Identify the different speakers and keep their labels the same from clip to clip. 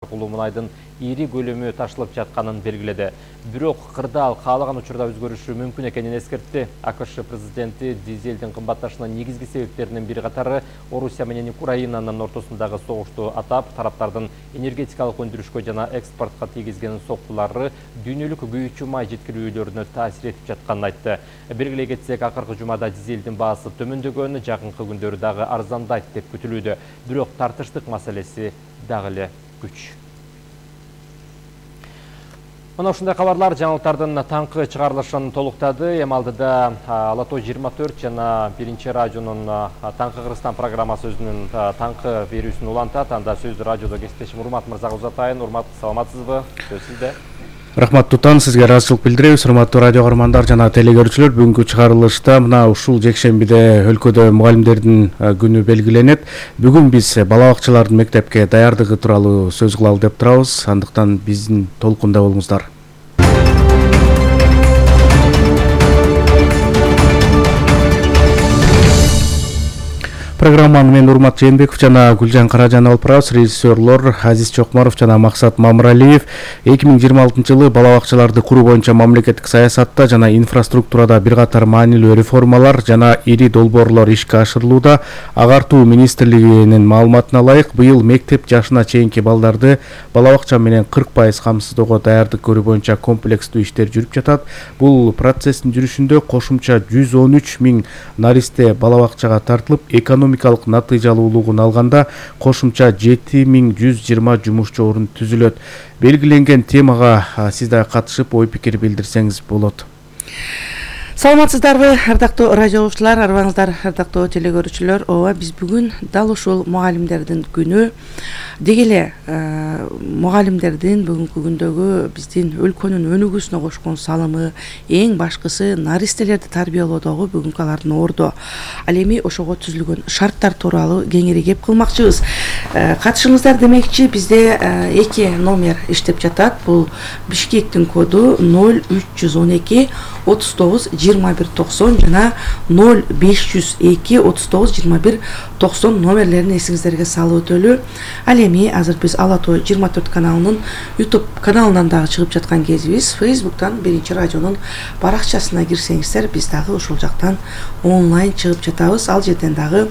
Speaker 1: Мунайдын ири көлөмү ташылып жатканын белгиледи. Бирок кырдаал каалаган учурда өзгөрүшү мүмкүн экенин эскертти. АКШ президенти дизелдин кымбатташынын негизги себептеринин бири катары Орусия менен Украинанын ортосундагы согушту атап, тараптардын энергетикалык өндүрүшкө жана экспортко тийгизген соккулары дүйнөлүк күйүүчү май жеткирүүлөрүнө таасир этип жатканын айтты. Белгилей кетсек, акыркы жумада дизелдин баасы төмөндөгөн, жакынкы күндөрү дагы арзандайт деп күтүлүүдө. Бирок тартыштык маселеси дагы эле күч. Мына ушундай кабарлар жаңылыктардын таңкы чыгарылышын толуктады. Эми алдыда Ала Тоо 24 жана Биринчи радионун Таңкы Кыргызстан программасы өзүнүн таңкы берүүсүн улантат. Анда сөздү радиодо кесиптешим Урмат мырзага узатайын. Урмат, саламатсызбы? Сөз сизде.
Speaker 2: Рахмат Тутан, сизге ыраазычылык билдиребиз. Урматтуу радио көрөрмандар жана телекөрүүчүлөр, бүгүнкү чыгарылышта мына ушул жекшембиде өлкөдө мугалимдердин күнү белгиленет. Бүгүн биз бала бакчалардын мектепке даярдыгы тууралуу сөз кылалы деп турабыз. Андыктан биздин толкунда болуңуздар. Программаны мен Урмат Жээнбеков жана Гүлжан Каражан алып барабыз. Режиссерлор Азиз Чокмаров жана Максат Мамыралиев 2026-жылы бала бакчаларды куруу боюнча мамлекеттик саясатта жана инфраструктурада бир катар маанилүү реформалар жана ири долбоорлор ишке ашырылууда. Агартуу министрлигинин маалыматына ылайык, быйыл мектеп жашына чейинки балдарды бала бакча менен 40% камсыздоого даярдык көрүү боюнча комплекстүү иштер жүрүп жатат. Бул процесстин жүрүшүндө кошумча 113 000 наристе бала бакчага тартылып, экономикалык натыйжалуулугун алганда кошумча 7120 жумушчу орун түзүлөт. Белгиленген темага сиз да катышып ой пикир билдирсеңиз болот.
Speaker 3: Саламатсыздарбы, ардактуу радио угуучулар, арбаңыздар, ардактуу телекөрүүчүлөр. Ооба, биз бүгүн дал ушул мугалимдердин күнү деги эле мугалимдердин бүгүнкү күндөгү биздин өлкөнүн өнүгүүсүнө кошкон салымы, эң башкысы наристелерди тарбиялоодогу бүгүнкү алардын ордо. Ал эми ошого түзүлгөн шарттар тууралуу кеңири кеп кылмакчыбыз. Катышыңыздар демекчи, бизде 2 номер иштеп жатат. Бул Бишкектин коду 0312 39 21 90 жана 0502 39 21 90 номерлерин эсиңиздерге салып өтөлү. Ал эми азыр биз Ала Тоо 24 каналынын YouTube каналынан дагы чыгып жаткан кезибиз. Facebook'тан Биринчи радионун баракчасына кирсеңиздер, биз дагы ушул жактан онлайн чыгып жатабыз. Ал жерден дагы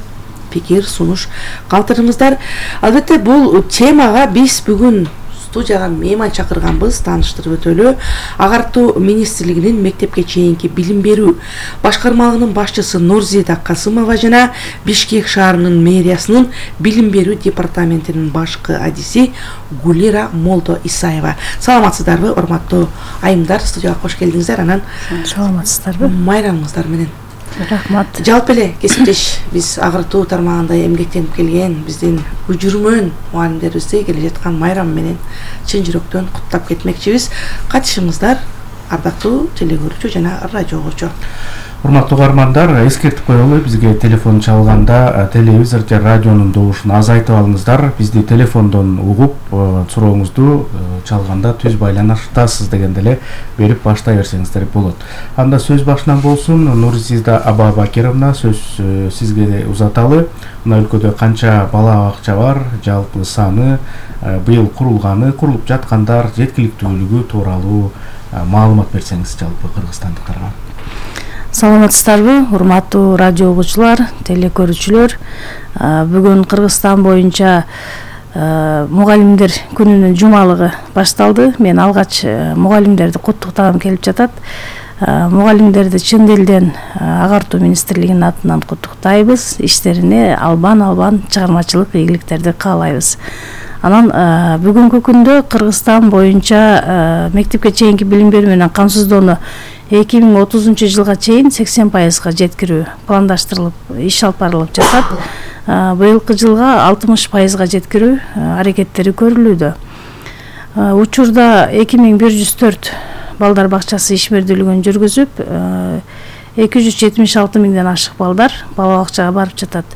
Speaker 3: пикир, сунуш калтырыңыздар. Албетте бул темага биз бүгүн студияга мейман чакырганбыз, тааныштырып өтөлү. Агартуу министрлигинин мектепке чейинки билим берүү башкармалыгынын башчысы Нурзида Касымова жана Бишкек шаарынын мэриясынын билим берүү департаментинин башкы адиси Гулира Молдо Исаева. Саламатсыздарбы, урматтуу айымдар, студияга кош келдиңиздер. Анан
Speaker 4: саламатсыздарбы,
Speaker 3: майрамыңыздар менен.
Speaker 4: Рахмат.
Speaker 3: Жалпы эле кесиптеш биз агартуу тармагында эмгектенип келген биздин жүрмөн мугалимдерибизди келе жаткан майрам менен чын жүрөктөн куттап кетмекчибиз. Катышыңыздар, ардактуу телекөрүүчү жана радио угуучу.
Speaker 2: Урматтуу көрөрмандар, эскертип коелу, бизге телефон чалганда телевизор же радионун добушун азайтып алыңыздар. Бизди телефондон угуп, сурооңузду чалганда түз байланыштасыз дегенде эле берип баштай берсеңиздер болот. Анда сөз башынан болсун. Нурзида Аба Бакировна, сөз сизге узаталы. Мына өлкөдө канча бала бакча бар, жалпы саны, быйыл курулганы, курулуп жаткандар, жеткиликтүүлүгү тууралуу маалымат берсеңиз жалпы кыргызстандыктарга.
Speaker 4: Саламатсыздарбы, урматтуу радио угуучулар, телекөрүүчүлөр. Бүгүн Кыргызстан боюнча мугалимдер күнүнүн жумалыгы башталды. Мен алгач мугалимдерди куттуктагым келип жатат. Мугалимдерди чын дилден агартуу министрлигинин атынан куттуктайбыз. Иштерине албан чыгармачылык ийгиликтерди каалайбыз. Анан бүгүнкү күндө Кыргызстан боюнча мектепке чейинки билим берүү менен камсыздоону 2030-жылга чейин 80%га жеткирүү пландаштырылып, иш алып барылып жатат. Быйылкы жылга 60%га жеткирүү аракеттери көрүлүүдө. Учурда 2104 балдар бакчасы ишмердүүлүгүн жүргүзүп, 276 миңден ашык балдар бала бакчага барып жатат.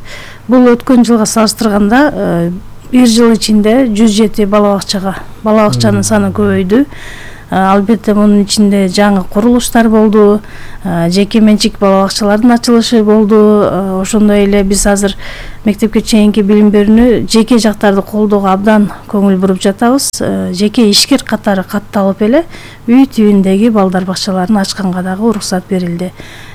Speaker 4: Бул өткөн жылга салыштырганда 1 жыл ичинде 107 бала бакчанын саны көбөйдү. Албетте мунун ичинде жаңы курулуштар болду, жеке менчик бала бакчалардын ачылышы болду. Ошондой эле биз азыр мектепке чейинки билим берүүнү жеке жактарды колдоого абдан көңүл буруп жатабыз. Жеке ишкер катары катталып эле үй түбүндөгү балдар бакчаларын ачканга дагы уруксат берилди.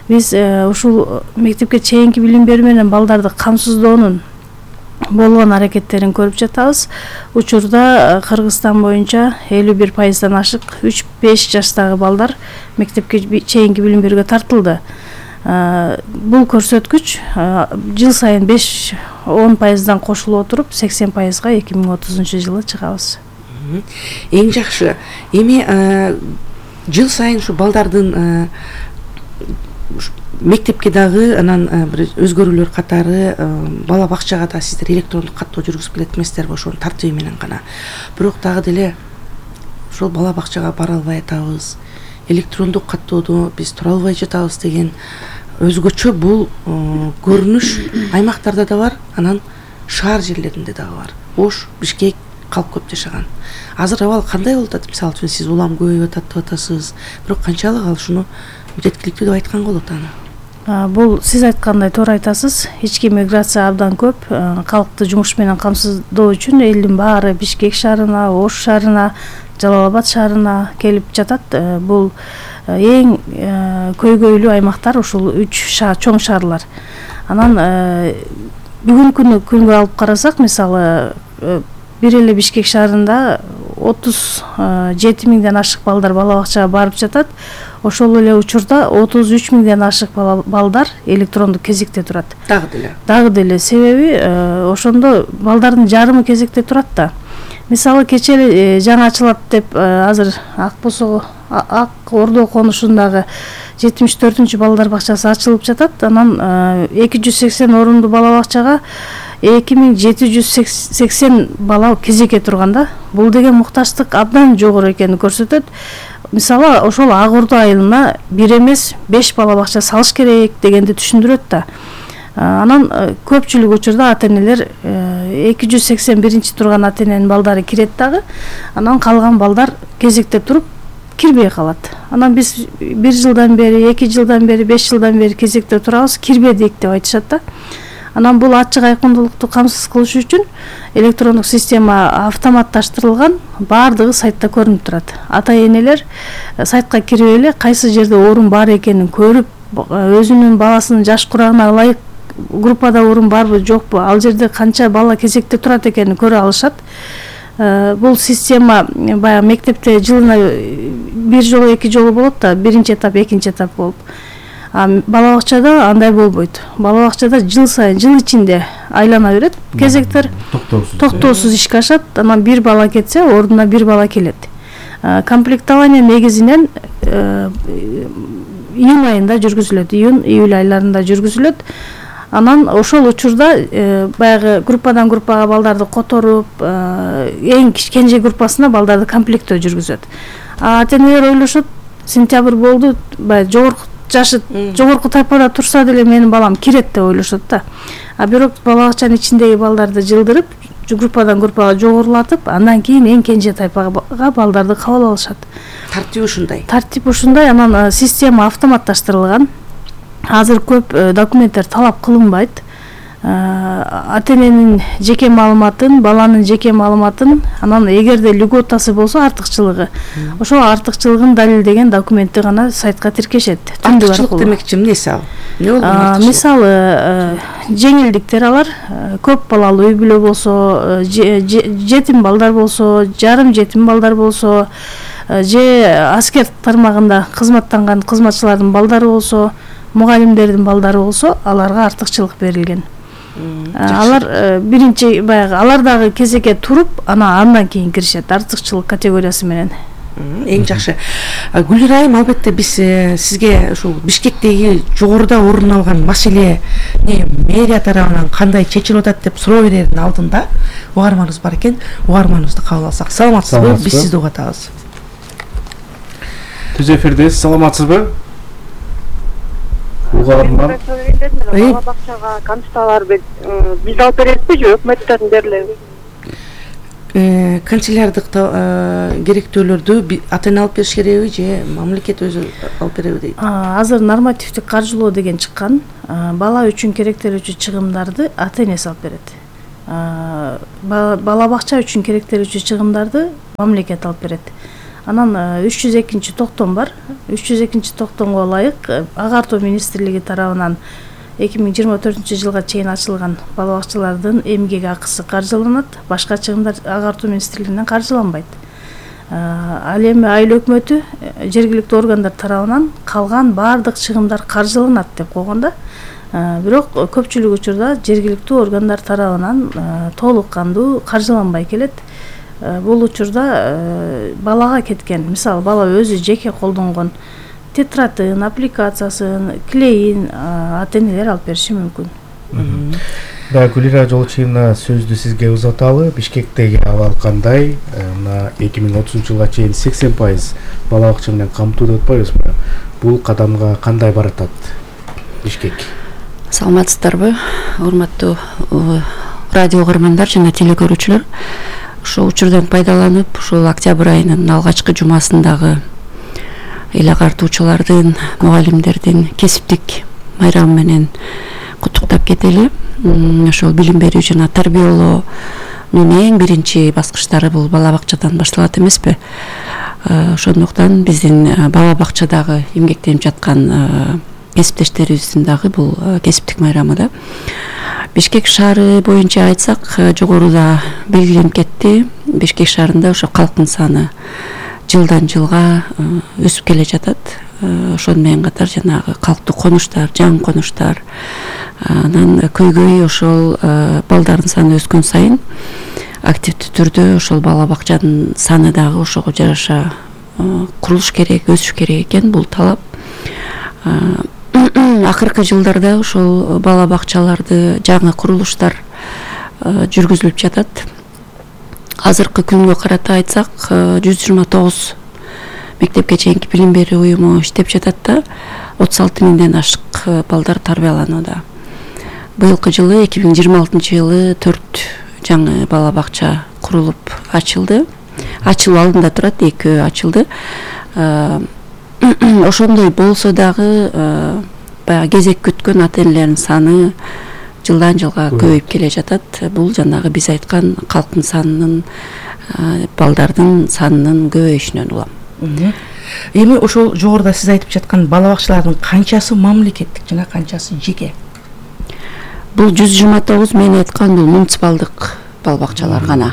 Speaker 4: Биз ушул мектепке чейинки билим берүү менен балдарды камсыздоонун болгон аракеттерин көрүп жатабыз. Учурда Кыргызстан боюнча 51%дан ашык 3-5 жаштагы балдар мектепке чейинки билим берүүгө тартылды. Бул көрсөткүч жыл сайын 5-10%дан кошулуп отуруп 80%га 2030-жылы чыгабыз.
Speaker 3: Эң жакшы. Эми жыл сайын ушу балдардын мектепке дагы анан бир өзгөрүүлөр катары бала бакчага да сиздер электрондук каттоо жүргүзүп келет эмессиздерби? Ошонун тартыйбы менен гана. Бирок дагы деле ошол бала бакчага бара албай атабыз, электрондук каттоодо биз тура албай жатабыз деген өзгөчө бул көрүнүш аймактарда да бар, анан шаар жерлеринде дагы бар. Ош, Бишкек калп көп жашаган. Азыр абал кандай болуп атат? Мисалы үчүн сиз улам көбөйүп атат деп атасыз. Бирок канчалык ал ушуну жеткиликтүү деп айтканга болот аны?
Speaker 4: Бул сиз айткандай туура айтасыз. Ички миграция абдан көп. Калкты жумуш менен камсыздоо үчүн элдин баары Бишкек шаарына, Ош шаарына, Жалал Абад шаарына келип жатат. Бул эң көйгөйлүү аймактар ушул 3 чоң шаарлар. Анан бүгүнкү күнгө алып карасак, мисалы бир эле Бишкек шаарында 37 миңден ашык балдар бала бакчага барып жатат. Ошол эле учурда 33 миңден ашык балдар электрондук кезекте турат. Дагы деле себеби ошондо балдардын жарымы кезекте турат да. Мисалы кечээ эле жаңы ачылат деп азыр Ак Ордо конушундагы 74-чү балдар бакчасы ачылып жатат. Анан 280 орунду бала бакчага 2780 бала кезекке турганда, бул деген муктачтык абдан жогору экенин көрсөтөт. Мисалы ошол Ак Ордо айылына 1 эмес 5 бала бакча салыш керек дегенди түшүндүрөт да. Анан көпчүлүк учурда ата-энелер 281-чи турган ата-эненин балдары кирет дагы. Анан калган балдар кезекте туруп кирбей калат. Анан биз 1 жылдан бери, 2 жылдан бери, 5 жылдан бери кезекте турабыз, кирбедик деп айтышат да. Анан бул ачык айкындуулукту камсыз кылыш үчүн электрондук система автоматташтырылган, баардыгы сайтта көрүнүп турат. Ата-энелер сайтка кирип эле кайсы жерде орун бар экенин көрүп, өзүнүн баласынын жаш курагына ылайык группада орун барбы, жокпу, ал жерде канча бала кезекте турат экенин көрө алышат. Бул система баягы мектепте жылына 1 жолу 2 жолу болот да, 1-чи этап, 2-чи этап болуп. Бала бакчада андай болбойт. Бала бакчада жыл сайын, жыл ичинде айлана берет. Кезектер токтоосуз ишке ашат. Анан 1 бала кетсе, ордуна 1 бала келет. Комплектование негизинен июнь айында жүргүзүлөт, июль айларында жүргүзүлөт. Анан ошол учурда баягы группадан группага балдарды которуп, эң кенже группасына балдарды комплектөө жүргүзөт. Ата-энелер ойлошот, сентябрь болду, баягы жашы жогорку тайпада турса деле менин балам кирет деп ойлошот да. Бирок бала бакчанын ичиндеги балдарды жылдырып, группадан группага жогорулатып, андан кийин эң кенже тайпага балдарды кабыл алышат.
Speaker 3: Тартип ушундай.
Speaker 4: Анан система автоматташтырылган. Азыр көп документтер талап кылынбайт. Ата-эненин жеке маалыматын, баланын жеке маалыматын, анан эгерде льготасы болсо артыкчылыгы, ошол артыкчылыгын далилдеген документти гана сайтка тиркешет.
Speaker 3: Артыкчылык демекчи эмнеси ал? Эмне болгон артыкчылык?
Speaker 4: Мисалы, жеңилдиктер алар, көп балалуу үй бүлө болсо, жетим балдар болсо, жарым жетим балдар болсо, же аскер тармагында кызматтанган кызматчылардын балдары болсо, мугалимдердин балдары болсо, аларга артыкчылык берилген. Алар биринчи баягы алар дагы кезекке туруп, андан кийин киришет артыкчылык категориясы менен.
Speaker 3: Эң жакшы. Гүлнур айым, албетте биз сизге ушул Бишкектеги жогоруда орун алган маселе мэрия тарабынан кандай чечилип атат деп суроо берердин алдында угарманыбыз бар экен. Угарманыбызды кабыл алсак. Саламатсызбы? Биз сизди угатабыз.
Speaker 2: Түз эфирдесиз, саламатсызбы? Угарман.
Speaker 5: Бала бакчага камсыздалар биз алып беребизби же өкмөттөн берилеби?
Speaker 3: канцеляриялык керектөөлөрдү ата эне алып бериш керекби же мамлекет өзү алып береби дейт?
Speaker 4: Азыр нормативдик каржылоо деген чыккан. Бала үчүн керектелүүчү чыгымдарды ата энеси алып берет. Бала бакча үчүн керектелүүчү чыгымдарды мамлекет алып берет. Анан 302 токтом бар. 302 токтомго ылайык Агартуу министрлиги тарабынан 2024 жылга чейин ачылган бала бакчалардын эмгек акысы каржыланат, башка чыгымдар Агартуу министрлигинен каржыланбайт. Ал эми айыл өкмөтү жергиликтүү органдар тарабынан калган баардык чыгымдар каржыланат деп койгон да. Бирок көпчүлүк учурда жергиликтүү органдар тарабынан толук кандуу каржыланбай келет. Бул учурда балага кеткен, мисалы бала өзү жеке колдонгон тетратын, аппликациясын, клейин ата энелер алып бериши мүмкүн.
Speaker 2: Да, Гүлира Жолчиевна, сөздү сизге узаталы. Бишкектеги абал кандай? Мына 2030 жылга чейин 80% бала бакча менен камтуу деп атпайбызбы? Бул кадамга кандай баратат Бишкек?
Speaker 5: Саламатсыздарбы, урматтуу радио угармандар жана телекөрүүчүлөр. Ошол учурдан пайдаланып, ушул октябрь айынын алгачкы жумасындагы эл агартуучулардын, мугалимдердин кесиптик майрамы менен куттуктап кетели. Ошол билим берүү жана тарбиялоонун эң биринчи баскычтары бул бала бакчадан башталат эмеспи? Ошондуктан биздин бала бакчадагы эмгектенип жаткан кесиптештерибиздин дагы бул кесиптик майрамы да. Бишкек шаары боюнча айтсак, жогоруда белгиленип кетти. Бишкек шаарында ошо калктын саны жылдан жылга өсүп келе жатат. Ошону менен катар жанагы калктуу конуштар, жаңы конуштар, анан көйгөй ошол балдардын саны өскөн сайын активдүү түрдө ошол бала бакчанын саны дагы ошого жараша курулуш керек, өсүш керек экен. Бул талап. Акыркы жылдарда ошол бала бакчаларды жаңы курулуштар жүргүзүлүп жатат. Азыркы күнгө карата айтсак, 129 мектепке чейинки билим берүү уюму иштеп жатат да, 36 миңден ашык балдар тарбияланууда. Быйылкы жылы 2026 жылы 4 жаңы бала бакча курулуп ачылды. Ачылуу алдында турат, 2 ачылды. Ошондой болсо дагы баягы кезек күткөн ата энелердин саны жылдан жылга көбөйүп келе жатат. Бул жанагы биз айткан калктын санынын, балдардын санынын көбөйүшүнөн улам.
Speaker 3: Эми ошол жогоруда сиз айтып жаткан бала бакчалардын канчасы мамлекеттик жана канчасы жеке?
Speaker 5: Бул 129 мен айткан бул муниципалдык бала бакчалар гана.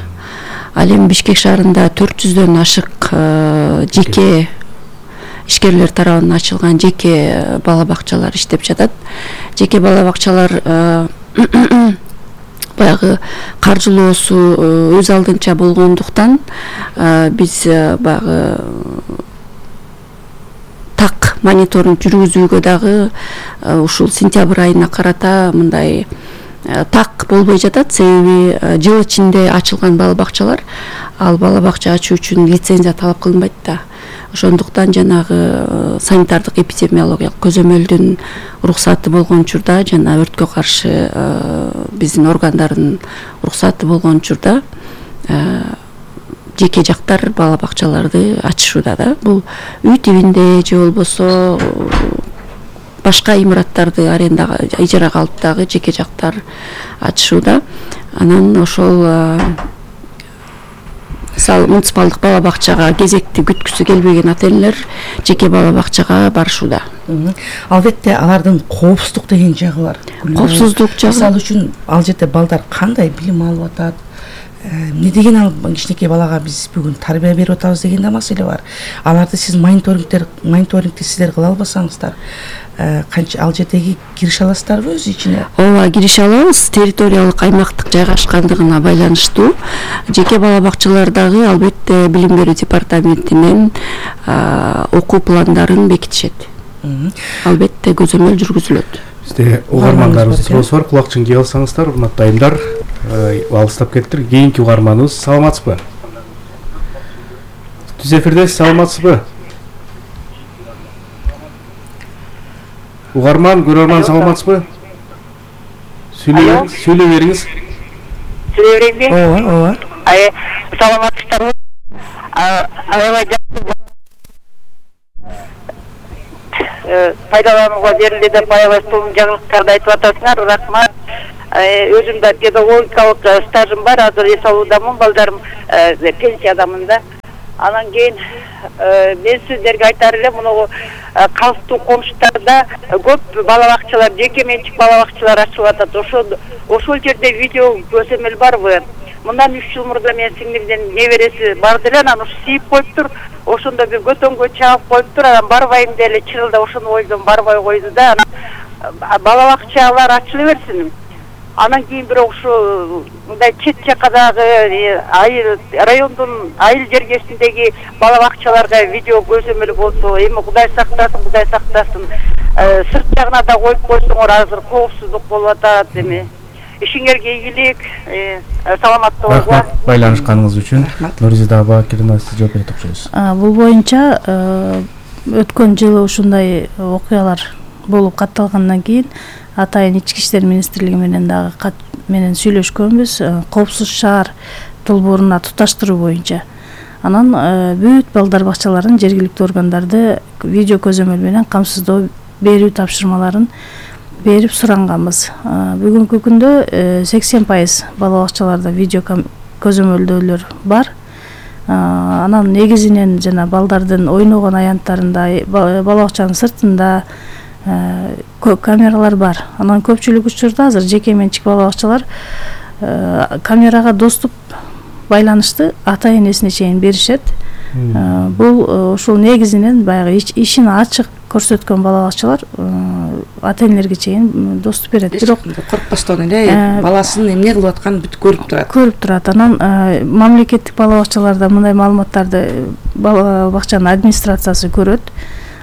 Speaker 5: Ал эми Бишкек шаарында 400дөн ашык жеке ишкерлер тарабынан ачылган жеке бала бакчалар иштеп жатат. Жеке бала бакчалар баягы каржылоосу өз алдынча болгондуктан биз баягы так мониторинг жүргүзүүгө дагы ушул сентябрь айына карата мындай так болбой жатат. Себеби жыл ичинде ачылган бала бакчалар, ал бала бакча ачуу үчүн лицензия талап кылынбайт да. Ошондуктан жанагы санитардык эпидемиологиялык көзөмөлдүн уруксаты болгон учурда жана өрткө каршы биздин органдардын уруксаты болгон учурда жеке жактар бала бакчаларды ачышууда да. Бул үй тибинде же болбосо башка имараттарды арендага, ижарага алып дагы жеке жактар ачышууда. Анан ошол муниципалдык бала бакчага кезекти күткүсү келбеген ата энелер жеке бала бакчага барышууда.
Speaker 3: Албетте алардын коопсуздук деген жагы бар.
Speaker 5: Коопсуздук жагы.
Speaker 3: Мисалы үчүн ал жерде балдар кандай билим алып атат? Эмне деген ал кичинекей балага биз бүгүн тарбия берип атабыз деген да маселе бар. Аларды сиз мониторингти сиздер кыла албасаңыздар, канча ал жердеги кирише аласыздарбы өз ичине?
Speaker 5: Ооба, кирише алабыз. Территориялык аймактык жайгашкандыгына байланыштуу жеке бала бакчалардагы албетте билим берүү департаментинен окуу пландарын бекитишет. Албетте көзөмөл жүргүзүлөт.
Speaker 2: Бизде угармандарыбыздын суроосу бар, кулакчын кийип алсаңыздар, урматтуу айымдар. Алыстап кеттир. Кийинки угарманыбыз, саламатсызбы? Түз эфирдесиз, саламатсызбы? Угарман, көрөрман, саламатсызбы? Сүйлөй бериңиз.
Speaker 6: Ооба. Саламатсыздарбы? Аябай пайдаланууга берилди деп аябай сонун жаңылыктарды айтып атасыңар. Рахмат. Өзүм да педагогикалык стажым бар. Азыр эс алуудамын, балдарым пенсиядамын да. Анан кийин мен сиздерге айтар элем, муну калыстуу комуштарда көп бала бакчалар, жеке менчик бала бакчалар ачылып атат. Ошол жерде видео көзөмөл барбы? Мындан 3 жыл мурда мен сиңдимдин небереси барды эле, анан ушу сийип коюптур. Ошондо бир көтөнгө чаап коюптур, анан барбайм деле чырылда ошону ойдон барбай койду да. Анан бала бакчалар ачыла берсин. Анан кийин бирок ушу мындай чет жакадагы райондун айыл жергесиндеги бала бакчаларга видео көзөмөл болсо, эми Кудай сактасын. Сырт жагына да коюп койсоңор, азыр коопсуздук болуп атат эми. Ишиңерге ийгилик, саламаттык болуңуздар.
Speaker 2: Байланышканыңыз үчүн Нурзида аба Кирина сиз жооп берет окшойсуз.
Speaker 4: Бул боюнча өткөн жылы ушундай окуялар болуп катталгандан кийин Атайын ички иштер министрлиги менен дагы кат менен сүйлөшкөнбүз, коопсуз шаар долбооруна туташтыруу боюнча. Анан бүт балдар бакчаларын жергиликтүү органдарды видео көзөмөл менен камсыздоо берүү тапшырмаларын берип суранганбыз. Бүгүнкү күндө 80% бала бакчаларда видео көзөмөлдөөлөр бар. Анан негизинен жана балдардын ойногон аянттарында, бала бакчанын сыртында камералар бар. Анан көпчүлүк учурда азыр жеке менчик бала бакчалар камерага доступ байланышты ата энесине чейин беришет. Бул ушул негизинен баягы ишин ачык көрсөткөн бала бакчалар ата энелерге чейин доступ берет. Бирок
Speaker 3: коркпостон эле баласынын эмне кылып атканын бүт көрүп турат.
Speaker 4: Анан мамлекеттик бала бакчаларда мындай маалыматтарды бала бакчанын администрациясы көрөт.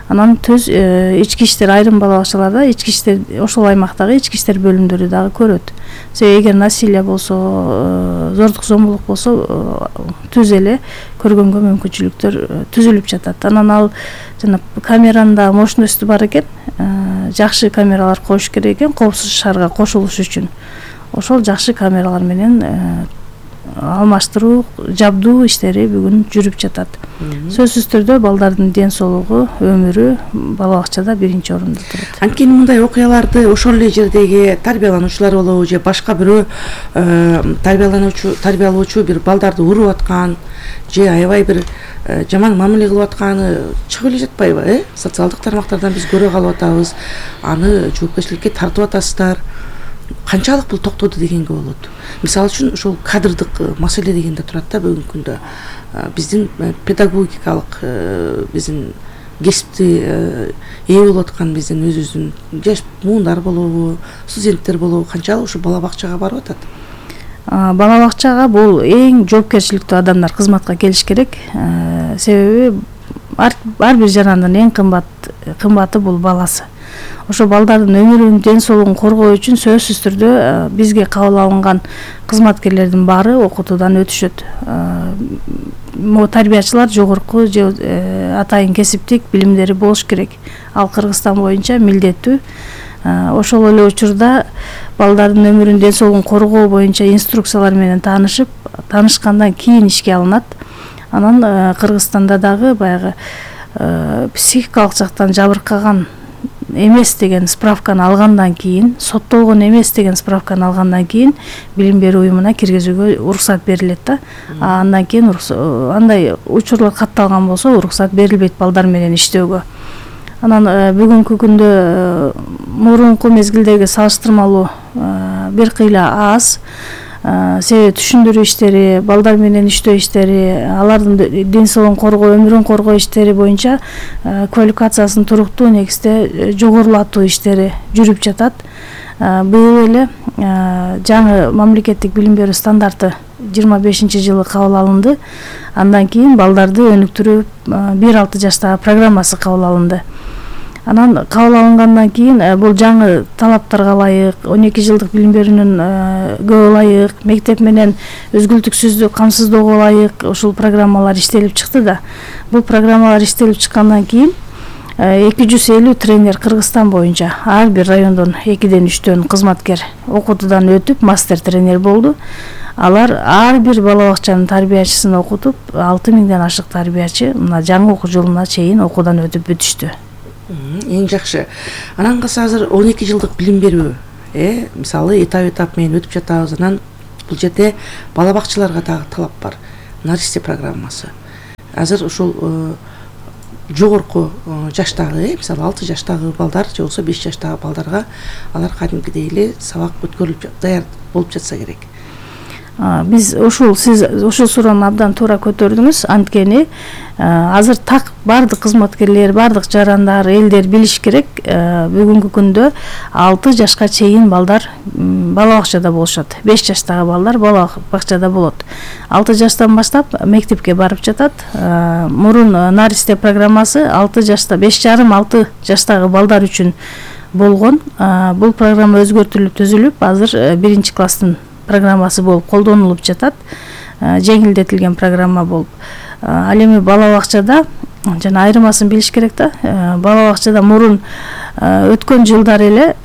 Speaker 4: Анан ички иштер, айрым бала бакчаларда ички иштер, ошол аймактагы ички иштер бөлүмдөрү дагы көрөт. Себеби эгер насилие болсо, зордук зомбулук болсо, түз эле көргөнгө мүмкүнчүлүктөр түзүлүп жатат. Анан ал жана камеранын да мощносту бар экен, жакшы камералар коюш керек экен, коопсуз шаарга кошулуш үчүн. Ошол жакшы камералар менен алмаштыруу, жабдуу иштери бүгүн жүрүп жатат. Сөзсүз түрдө балдардын ден соолугу, өмүрү бала бакчада биринчи орунда турат.
Speaker 3: Анткени мындай окуяларды ошол эле жердеги тарбиялануучулар болобу же башка бирөө тарбиялоочу бир балдарды уруп аткан же аябай бир жаман мамиле кылып атканы чыгып эле жатпайбы? Социалдык тармактардан биз көрө калып атабыз. Аны жоопкерчиликке тартып атасыздар. Канчалык бул токтоду дегенге болот. Мисалы үчүн ошол кадрдык маселе деген да турат да бүгүнкү күндө. Биздин педагогикалык биздин кесипти ээ болуп аткан биздин өзүбүздүн жаш муундар болобу, студенттер болобу канчалык ушу бала бакчага барып атат?
Speaker 4: Бала бакчага бул эң жоопкерчиликтүү адамдар кызматка келиш керек. Себеби ар бир жарандын эң кымбаты бул баласы. Ошо балдардын өмүрүн, ден соолугун коргоо үчүн сөзсүз түрдө бизге кабыл алынган кызматкерлердин баары окутуудан өтүшөт. Тарбиячылар жогорку же атайын кесиптик билимдери болуш керек. Ал Кыргызстан боюнча милдеттүү. Ошол эле учурда балдардын өмүрүн, ден соолугун коргоо боюнча инструкциялар менен таанышкандан кийин ишке алынат. Анан Кыргызстанда дагы баягы психикалык жактан жабыркаган эмес деген справканы алгандан кийин, соттолгон эмес деген справканы алгандан кийин билим берүү уюмуна киргизүүгө уруксат берилет да. Андан кийин андай учурлар катталган болсо уруксат берилбейт балдар менен иштөөгө. Анан бүгүнкү күндө мурунку мезгилдеги салыштырмалуу бир кыйла аз. Себеби түшүндүрүү иштери, балдар менен иштөө иштери, алардын ден соолугун коргоо, өмүрүн коргоо иштери боюнча квалификациясын туруктуу негизде жогорулатуу иштери жүрүп жатат. Быйыл эле жаңы мамлекеттик билим берүү стандарты 25-жылы кабыл алынды. Андан кийин балдарды өнүктүрүү 1-6 жаштагы программасы кабыл алынды. Анан кабыл алынгандан кийин бул жаңы талаптарга ылайык, 12 жылдык билим берүүнүн ылайык, мектеп менен өзгүлтүксүздүк камсыздоого ылайык ушул программалар иштелип чыкты да. Бул программалар иштелип чыккандан кийин 250 тренер Кыргызстан боюнча ар бир райондон 2-ден 3төн кызматкер окутуудан өтүп мастер тренер болду. Алар ар бир бала бакчанын тарбиячысын окутуп 6000ден ашык тарбиячы мына жаңы окуу жылына чейин окуудан өтүп бүтүштү.
Speaker 3: Эң жакшы. Анан калса азыр 12 жылдык билим берүү, мисалы этап менен өтүп жатабыз. Анан бул жерде бала бакчаларга дагы талап бар. Наристе программасы. Азыр ушул жогорку жаштагы, мисалы 6 жаштагы балдар же болбосо 5 жаштагы балдарга алар кадимкидей эле сабак өткөрүлүп даяр болуп жатса керек.
Speaker 4: Биз сиз ушул суроону абдан туура көтөрдүңүз. Анткени азыр так бардык кызматкерлер, бардык жарандар, элдер билиш керек. Бүгүнкү күндө 6 жашка чейин балдар бала бакчада болушат. 5 жаштагы балдар бала бакчада болот. 6 жаштан баштап мектепке барып жатат. Мурун Наристе программасы 6 жашта, 5,5-6 жаштагы балдар үчүн болгон. Бул программа өзгөртүлүп түзүлүп, азыр 1-класстын программасы болуп колдонулуп жатат. Жеңилдетилген программа болуп. Ал эми бала бакчада жана айырмасын билиш керек да. Бала бакчада мурун өткөн жылдар эле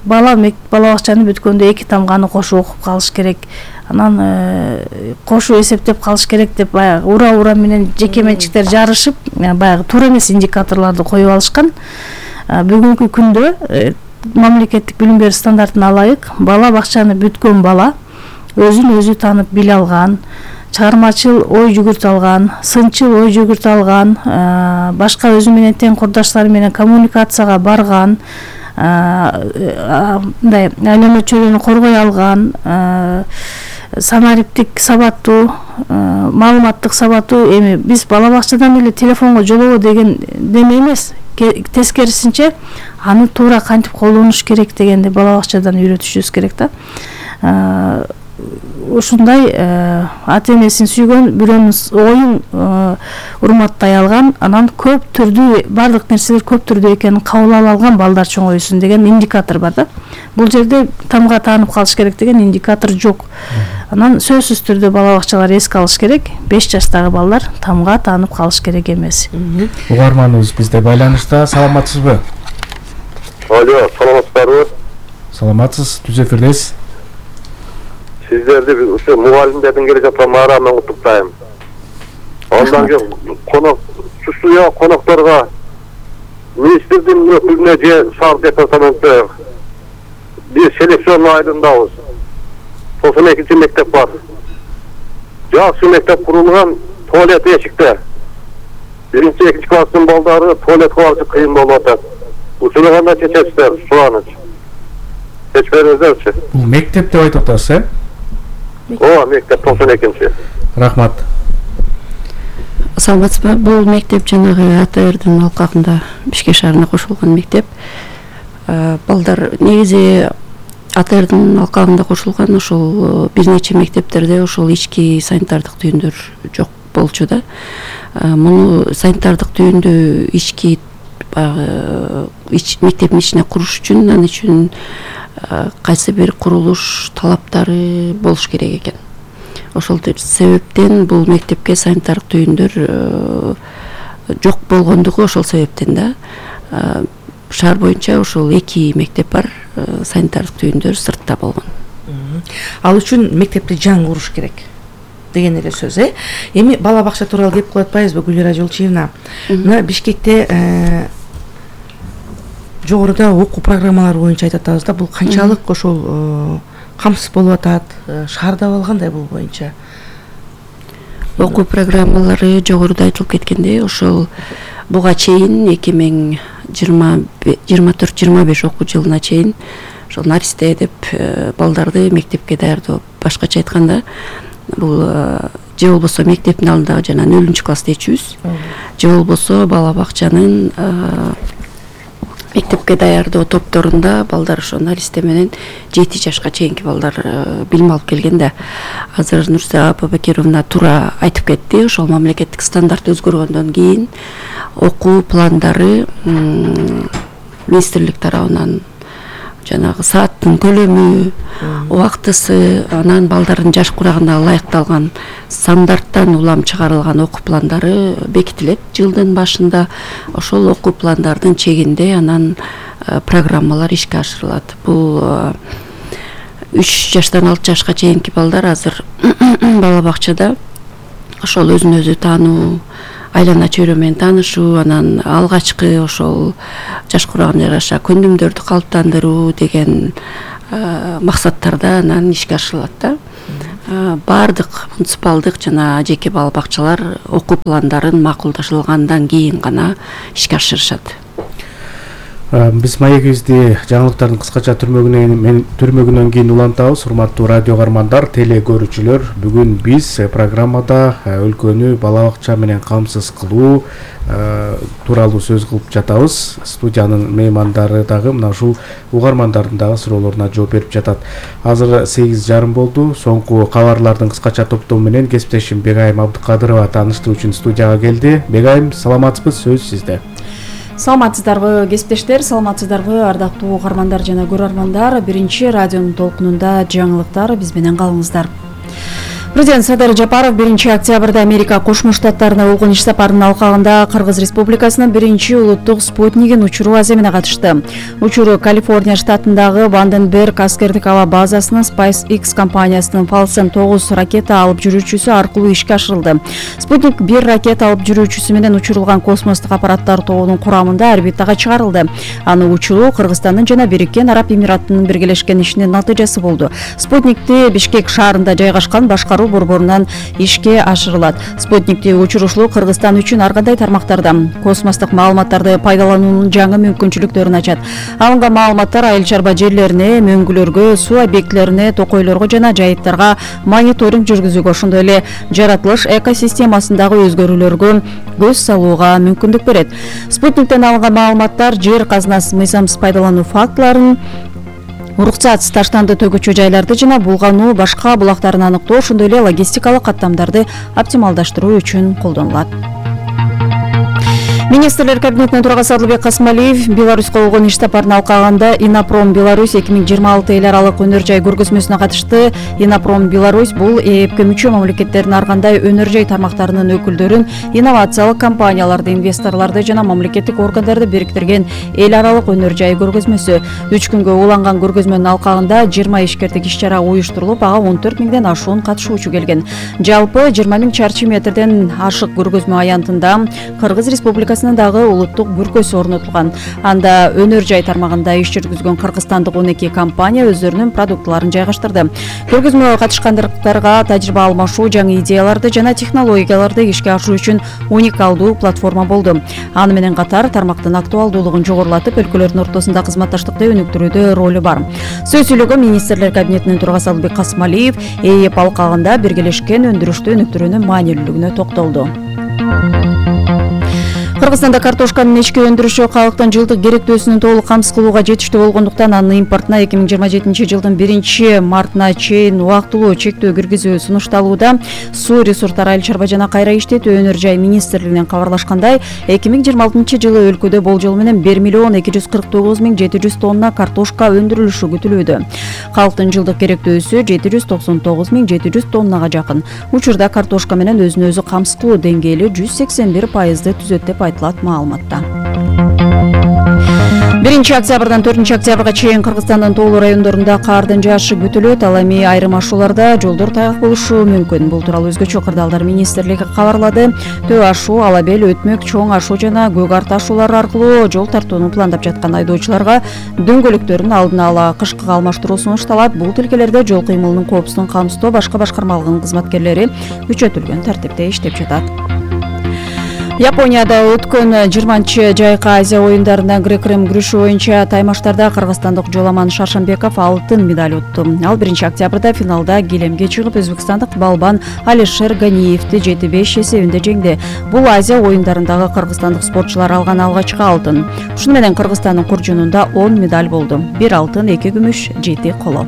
Speaker 4: бала бакчаны бүткөндө 2 тамганы кошо окуп калыш керек. Анан кошо эсептеп калыш керек деп баягы ура менен жеке менчиктер жарышып, баягы туура эмес индикаторлорду коюп алышкан. Бүгүнкү күндө мамлекеттик билим берүү стандартына ылайык бала бакчаны бүткөн бала өзүн өзү таанып биле алган, чыгармачыл ой жүгүртө алган, сынчыл ой жүгүртө алган, башка өзү менен тең курдаштары менен коммуникацияга барган, мындай айлана чөйрөнү коргой алган, санариптик сабаттуу, маалыматтык сабаттуу. Эми биз бала бакчадан эле телефонго жолобо деген деме эмес, тескерисинче аны туура кантип колдонуш керек дегенди бала бакчадан үйрөтүшүбүз керек да. Ушундай ата энесин сүйгөн, бирөөнүн оюн урматтай алган, анан көп түрдүү бардык нерселер көп түрдүү экенин кабыл ала алган балдар чоңоюсун деген индикатор бар да. Бул жерде тамга таанып калыш керек деген индикатор жок. Анан сөзсүз түрдө бала бакчалар эске алыш керек. 5 жаштагы балдар тамга таанып калыш керек эмес.
Speaker 2: Угарманыбыз бизде байланышта. Саламатсызбы?
Speaker 7: Алло, саламатсыздарбы?
Speaker 2: Саламатсыз, түз эфирдесиз.
Speaker 7: Сиздерди ушу мугалимдердин келе жаткан майрамынан куттуктайм. Андан кийин конокторго министрдин өкүлүнө же шаар департаментке биз селекцион айылындабыз. 92 мектеп бар. Жакшы мектеп курулган, туалет эшикте. 1-2 класстын балдары туалетке барышы кыйын болуп атат. Ушуну кандай чечесиздер? Сураныч. Чечип бериңиздерчи.
Speaker 2: Бул мектеп деп айтып атасыз,
Speaker 7: Ооба, мектеп 92-чи.
Speaker 2: Рахмат.
Speaker 5: Саламатсызбы? Бул мектеп жанагы АТРдин алкагында Бишкек шаарына кошулган мектеп. Балдар негизи АТРдин алкагында кошулган, ошол бир нече мектептерде ошол ички санитардык түйүндөр жок болчу да. Муну санитардык түйүндү ички мектептин ичине куруш үчүн, ал үчүн кайсы бир курулуш талаптары болуш керек экен. Ошол себептен бул мектепке санитардык түйүндөр жок болгондугу ошол себептен да. Шаар боюнча ошол 2 мектеп бар, санитардык түйүндөр сыртта болгон.
Speaker 3: Ал үчүн мектепти жаңы куруш керек деген эле сөз, Эми бала бакча тууралуу кеп кылып атпайбызбы, Гүлира Жолчиевна? Мына Бишкекте жогоруда окуу программалары боюнча айтып атабыз да, бул канчалык ошол камсыз болуп атат, шаарда кандай бул боюнча?
Speaker 5: Окуу программалары жогоруда айтылып кеткендей, ошол буга чейин 2024-25 окуу жылына чейин ошол Наристе деп балдарды мектепке даярдоо, башкача айтканда бул же болбосо мектептин алдындагы жана 0-класс дечүбүз, же болбосо бала бакчанын мектепке даярдоо топторунда балдар ошо Наристе менен 7 жашка чейинки балдар билим алып келген да. Азыр Нурса Бабакировна туура айтып кетти, ошол мамлекеттик стандарт өзгөргөндөн кийин окуу пландары министрлик тарабынан жанагы сааттын көлөмү, убактысы, анан балдардын жаш курагына ылайыкталган стандарттан улам чыгарылган окуу пландары бекитилет жылдын башында. Ошол окуу пландардын чегинде анан программалар ишке ашырылат. Бул 3 жаштан 6 жашка чейинки балдар азыр бала бакчада ошол өзүн өзү таануу, айлана чөйрө менен таанышуу, анан алгачкы ошол жаш курагына жараша көндүмдөрдү калыптандыруу деген максаттарда анан ишке ашырылат да. Бардык муниципалдык жана жеке бала бакчалар окуу пландарын макулдашылгандан кийин гана ишке ашырышат.
Speaker 2: Биз маегибизди жаңылыктардын кыскача түрмөгүнөн кийин улантабыз. Урматтуу радио каармандар, теле көрүүчүлөр, бүгүн биз программада өлкөнү бала бакча менен камсыз кылуу тууралуу сөз кылып жатабыз. Студиянын меймандары дагы мына ушул угармандардын дагы суроолоруна жооп берип жатат. Азыр 8:30 болду. Соңку кабарлардын кыскача топтому менен кесиптешим Бегайым Абдыкадырова тааныштыруу үчүн студияга келди. Бегайым, саламатсызбы? Сөз сизде.
Speaker 8: Саламатсыздарбы кесиптештер, саламатсыздарбы ардактуу угармандар жана көрөрмандар. Биринчи радионун толкунунда жаңылыктар, биз менен калыңыздар. Президент Садыр Жапаров 1 октябрда Америка Кошмо Штаттарына болгон иш сапарынын алкагында Кыргыз Республикасынын 1 улуттук спутнигин учуруу аземине катышты. Учуруу Калифорния штатындагы Ванденберг аскердик аба базасынын SpaceX компаниясынын Falcon 9 ракета алып жүрүүчүсү аркылуу ишке ашырылды. Спутник 1 ракета алып жүрүүчүсү менен учурулган космостук аппараттар тобунун курамында орбитага чыгарылды. Аны учуруу Кыргызстандын жана Бириккен Араб Эмираттарынын биргелешкен ишинин натыйжасы болду. Спутникти Бишкек шаарында жайгашкан башкаруу борборунан ишке ашырылат. Спутникти учурушуу Кыргызстан үчүн ар кандай тармактарда космостук маалыматтарды пайдалануунун жаңы мүмкүнчүлүктөрүн ачат. Алынган маалыматтар айыл чарба жерлерине, мөңгүлөргө, суу объектилерине, токойлорго жана жайыттарга мониторинг жүргүзүүгө, ошондой эле жаратылыш экосистемасындагы өзгөрүүлөргө көз салууга мүмкүндүк берет. Спутниктен алынган маалыматтар жер казынасын мыйзамсыз пайдалануу фактыларын, уруксатсыз таштанды төгүүчү жайларды жана булгануу башка булактарын аныктоо, ошондой эле логистикалык каттамдарды оптималдаштыруу үчүн колдонулат. Министрлер кабинетинин төрагасы Адылбек Касмалиев Беларуска болгон иш сапарынын алкагында Инопром Беларусь 2026 эл аралык өнөр жай көргөзмөсүнө катышты. Инопром Беларусь бул ЭЭПке мүчө мамлекеттердин ар кандай өнөр жай тармактарынын өкүлдөрүн, инновациялык компанияларды, инвесторлорду жана мамлекеттик органдарды бириктирген эл аралык өнөр жай көргөзмөсү. 3 күнгө уланган көргөзмөнүн алкагында 20 ишкердик иш-чара уюштурулуп, ага 14 миңден ашуун катышуучу келген. Жалпы 20 миң чарчы метрден ашык көргөзмө аянтында Кыргыз Республикасы дагы улуттук бүркөсү орнотулган. Анда өнөр жай тармагында иш жүргүзгөн кыргызстандык 12 компания өздөрүнүн продуктларын жайгаштырды. Көргөзмөгө катышкандарга тажрыйба алмашуу, жаңы идеяларды жана технологияларды ишке ашыруу үчүн уникалдуу платформа болду. Аны менен катар тармактын актуалдуулугун жогорулатып, өлкөлөрдүн ортосунда кызматташтыкты өнүктүрүүдө ролу бар. Сөз сүйлөгөн министрлер кабинетинин төрагасы Адылбек Касмалиев ЭЭП алкагында биргелешкен өндүрүштү өнүктүрүүнүн маанилүүлүгүнө токтолду. Кыргызстанда картошканын ички өндүрүшү калктын жылдык керектөөсүнүн толук камсыз кылууга жетиштүү болгондуктан анын импортуна 2027 жылдын 1 мартына чейин убактылуу чектөө киргизүү сунушталууда. Суу ресурстары айыл чарба жана кайра иштетүү өнөр жай министрлигинен кабарлашкандай, 2026 жылы өлкөдө болжол менен 1,249,700 тонна картошка өндүрүлүшү күтүлүүдө. Калктын жылдык керектөөсү 799,700 тоннага жакын. Учурда картошка менен өзүн өзү камсыз кылуу деңгээли 181% түзөт деп айтылат маалыматта. 1 октябрдан 4 октябрга чейин Кыргызстандын тоолуу райондорунда кардын жаашы күтүлөт. Ал эми айрым ашууларда жолдор тайгак болушу мүмкүн. Бул тууралуу өзгөчө кырдаалдар министрлиги кабарлады. Төө ашуу, Алабел, Өтмөк, Чоң ашуу жана Көк арт ашуулары аркылуу жол тартууну пландап жаткан айдоочуларга дөңгөлөктөрүн алдын ала кышкыга алмаштыруу сунушталат. Бул тилкелерде жол кыймылынын коопсуздугун камсыздоо башка башкармалыгынын кызматкерлери күчөтүлгөн тартипте иштеп жатат. Японияда өткөн 20 жайкы Азия оюндарында грек-рим күрөшү боюнча таймаштарда кыргызстандык Жоламан Шаршамбеков алтын медаль утту. Ал 1 октябрда финалда килемге чыгып, өзбекстандык балбан Алишер Ганиевди 7-5 эсебинде жеңди. Бул Азия оюндарындагы кыргызстандык спортчулар алган алгачкы алтын. Ушуну менен Кыргызстандын куржунунда 10 медаль болду. 1 алтын, 2 күмүш, 7 коло.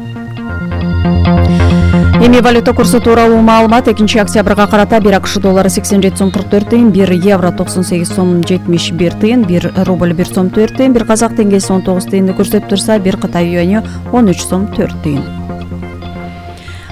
Speaker 8: Эми валюта курсу тууралуу маалымат 2 октябрга карата 1 АКШ доллары 87 сом 44 тыйын, 1 евро 98 сом 71 тыйын, 1 рубль 1 сом 4 тыйын, 1 казак теңгеси 19 тыйынды көрсөтүп турса, 1 Кытай юаньы 13 сом 4 тыйын.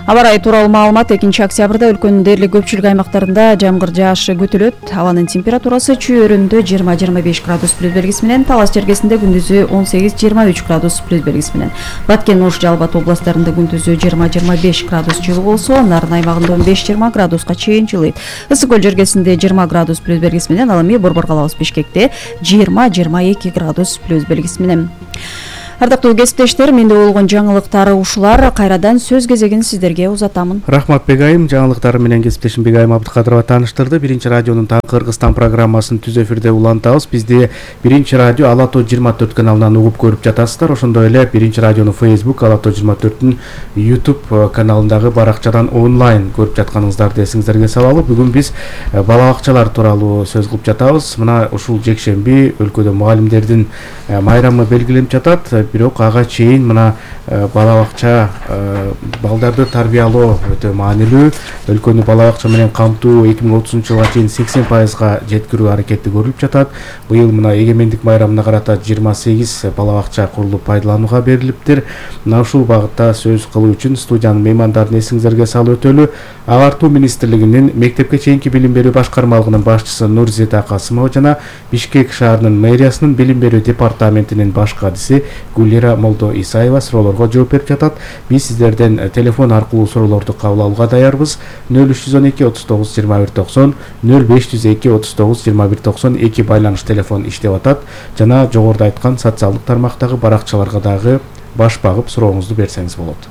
Speaker 8: Аба ырайы тууралуу маалымат 2 октябрда өлкөнүн дээрлик көпчүлүк аймактарында жамгыр жаашы күтүлөт. Абанын температурасы чүйөрүндө 20-25 градус плюс белгиси менен, Талас чергесинде күндүзү 18-23 градус плюс белгиси менен. Баткен, Ош, Жалал Абад областтарында күндүзү 20-25 градус жылы болсо, Нарын аймагында 15-20 градуска чейин жылыйт. Ысык көл жергесинде 20 градус плюс белгиси менен, ал эми Борбор калабыз Бишкекте 20-22 градус плюс белгиси менен. Ардактуу кесиптештер, менде болгон жаңылыктар ушулар. Кайрадан сөз кезегин сиздерге узатамын.
Speaker 2: Рахмат Бегайым, жаңылыктары менен кесиптешим Бегайым Абдыкадырова тааныштырды. Биринчи радионун Таңкы Кыргызстан программасын түз эфирде улантабыз. Бизди Биринчи радио Ала Тоо 24 каналынан угуп көрүп жатасыздар. Ошондой эле Биринчи радионун Facebook Ала Тоо 24-түн YouTube каналындагы баракчадан онлайн көрүп жатканыңыздарды эсиңиздерге салалы. Бүгүн биз бала бакчалар тууралуу сөз кылып жатабыз. Мына ушул жекшемби өлкөдө мугалимдердин майрамы белгиленип жатат. Бирок ага чейин мына бала бакча балдарды тарбиялоо өтө маанилүү. Өлкөнү бала бакча менен камтуу 2030-жылга чейин 80%га жеткирүү аракети көрүлүп жатат. Быйыл мына эгемендик майрамына карата 28 бала бакча курулуп пайдаланууга берилиптир. Мына ушул багытта сөз кылуу үчүн студиянын меймандарын эсиңиздерге салып өтөлү. Агартуу министрлигинин мектепке чейинки билим берүү башкармалыгынын башчысы Нурзита Касымова жана Бишкек шаарынын мэриясынын билим берүү департаментинин баш кадиси Гулира Молдо Исаева суроолорго жооп берип жатат. Биз сиздерден телефон аркылуу суроолорду кабыл алууга даярбыз. 0312 39 21 90, 0502 39 21 92 байланыш телефон иштеп атат. Жана жогоруда айткан социалдык тармактагы баракчаларга дагы баш багып сурооңузду берсеңиз болот.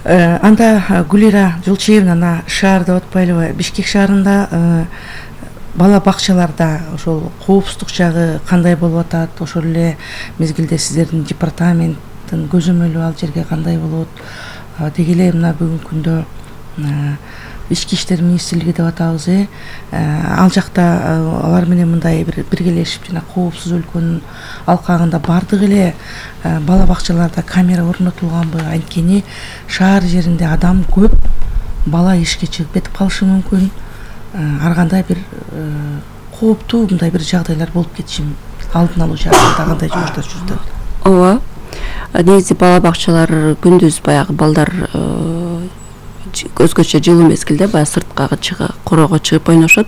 Speaker 3: Анда Гулира Жылчиевна шаарда отпайлыбы, Бишкек шаарында бала бакчаларда ошол коопсуздук жагы кандай болуп атат? Ошол эле мезгилде сиздердин департаменттин көзөмөлү ал жерге кандай болот? Деги эле мына бүгүнкү күндө Ички иштер министрлиги деп атабыз, ал жакта алар менен мындай биргелешип жана коопсуз өлкөнүн алкагында бардык эле бала бакчаларда камера орнотулганбы? Анткени шаар жеринде адам көп, бала ишке чыгып кетип калышы мүмкүн. Ар кандай бир кооптуу мындай бир жагдайлар болуп кетиши алдын алуу жагында кандай жумуштар жүрүп атат?
Speaker 5: Ооба. Негизи бала бакчалар күндүз баягы балдар өзгөчө жылуу мезгилде баягы сырткага чыгып, короого чыгып ойношот.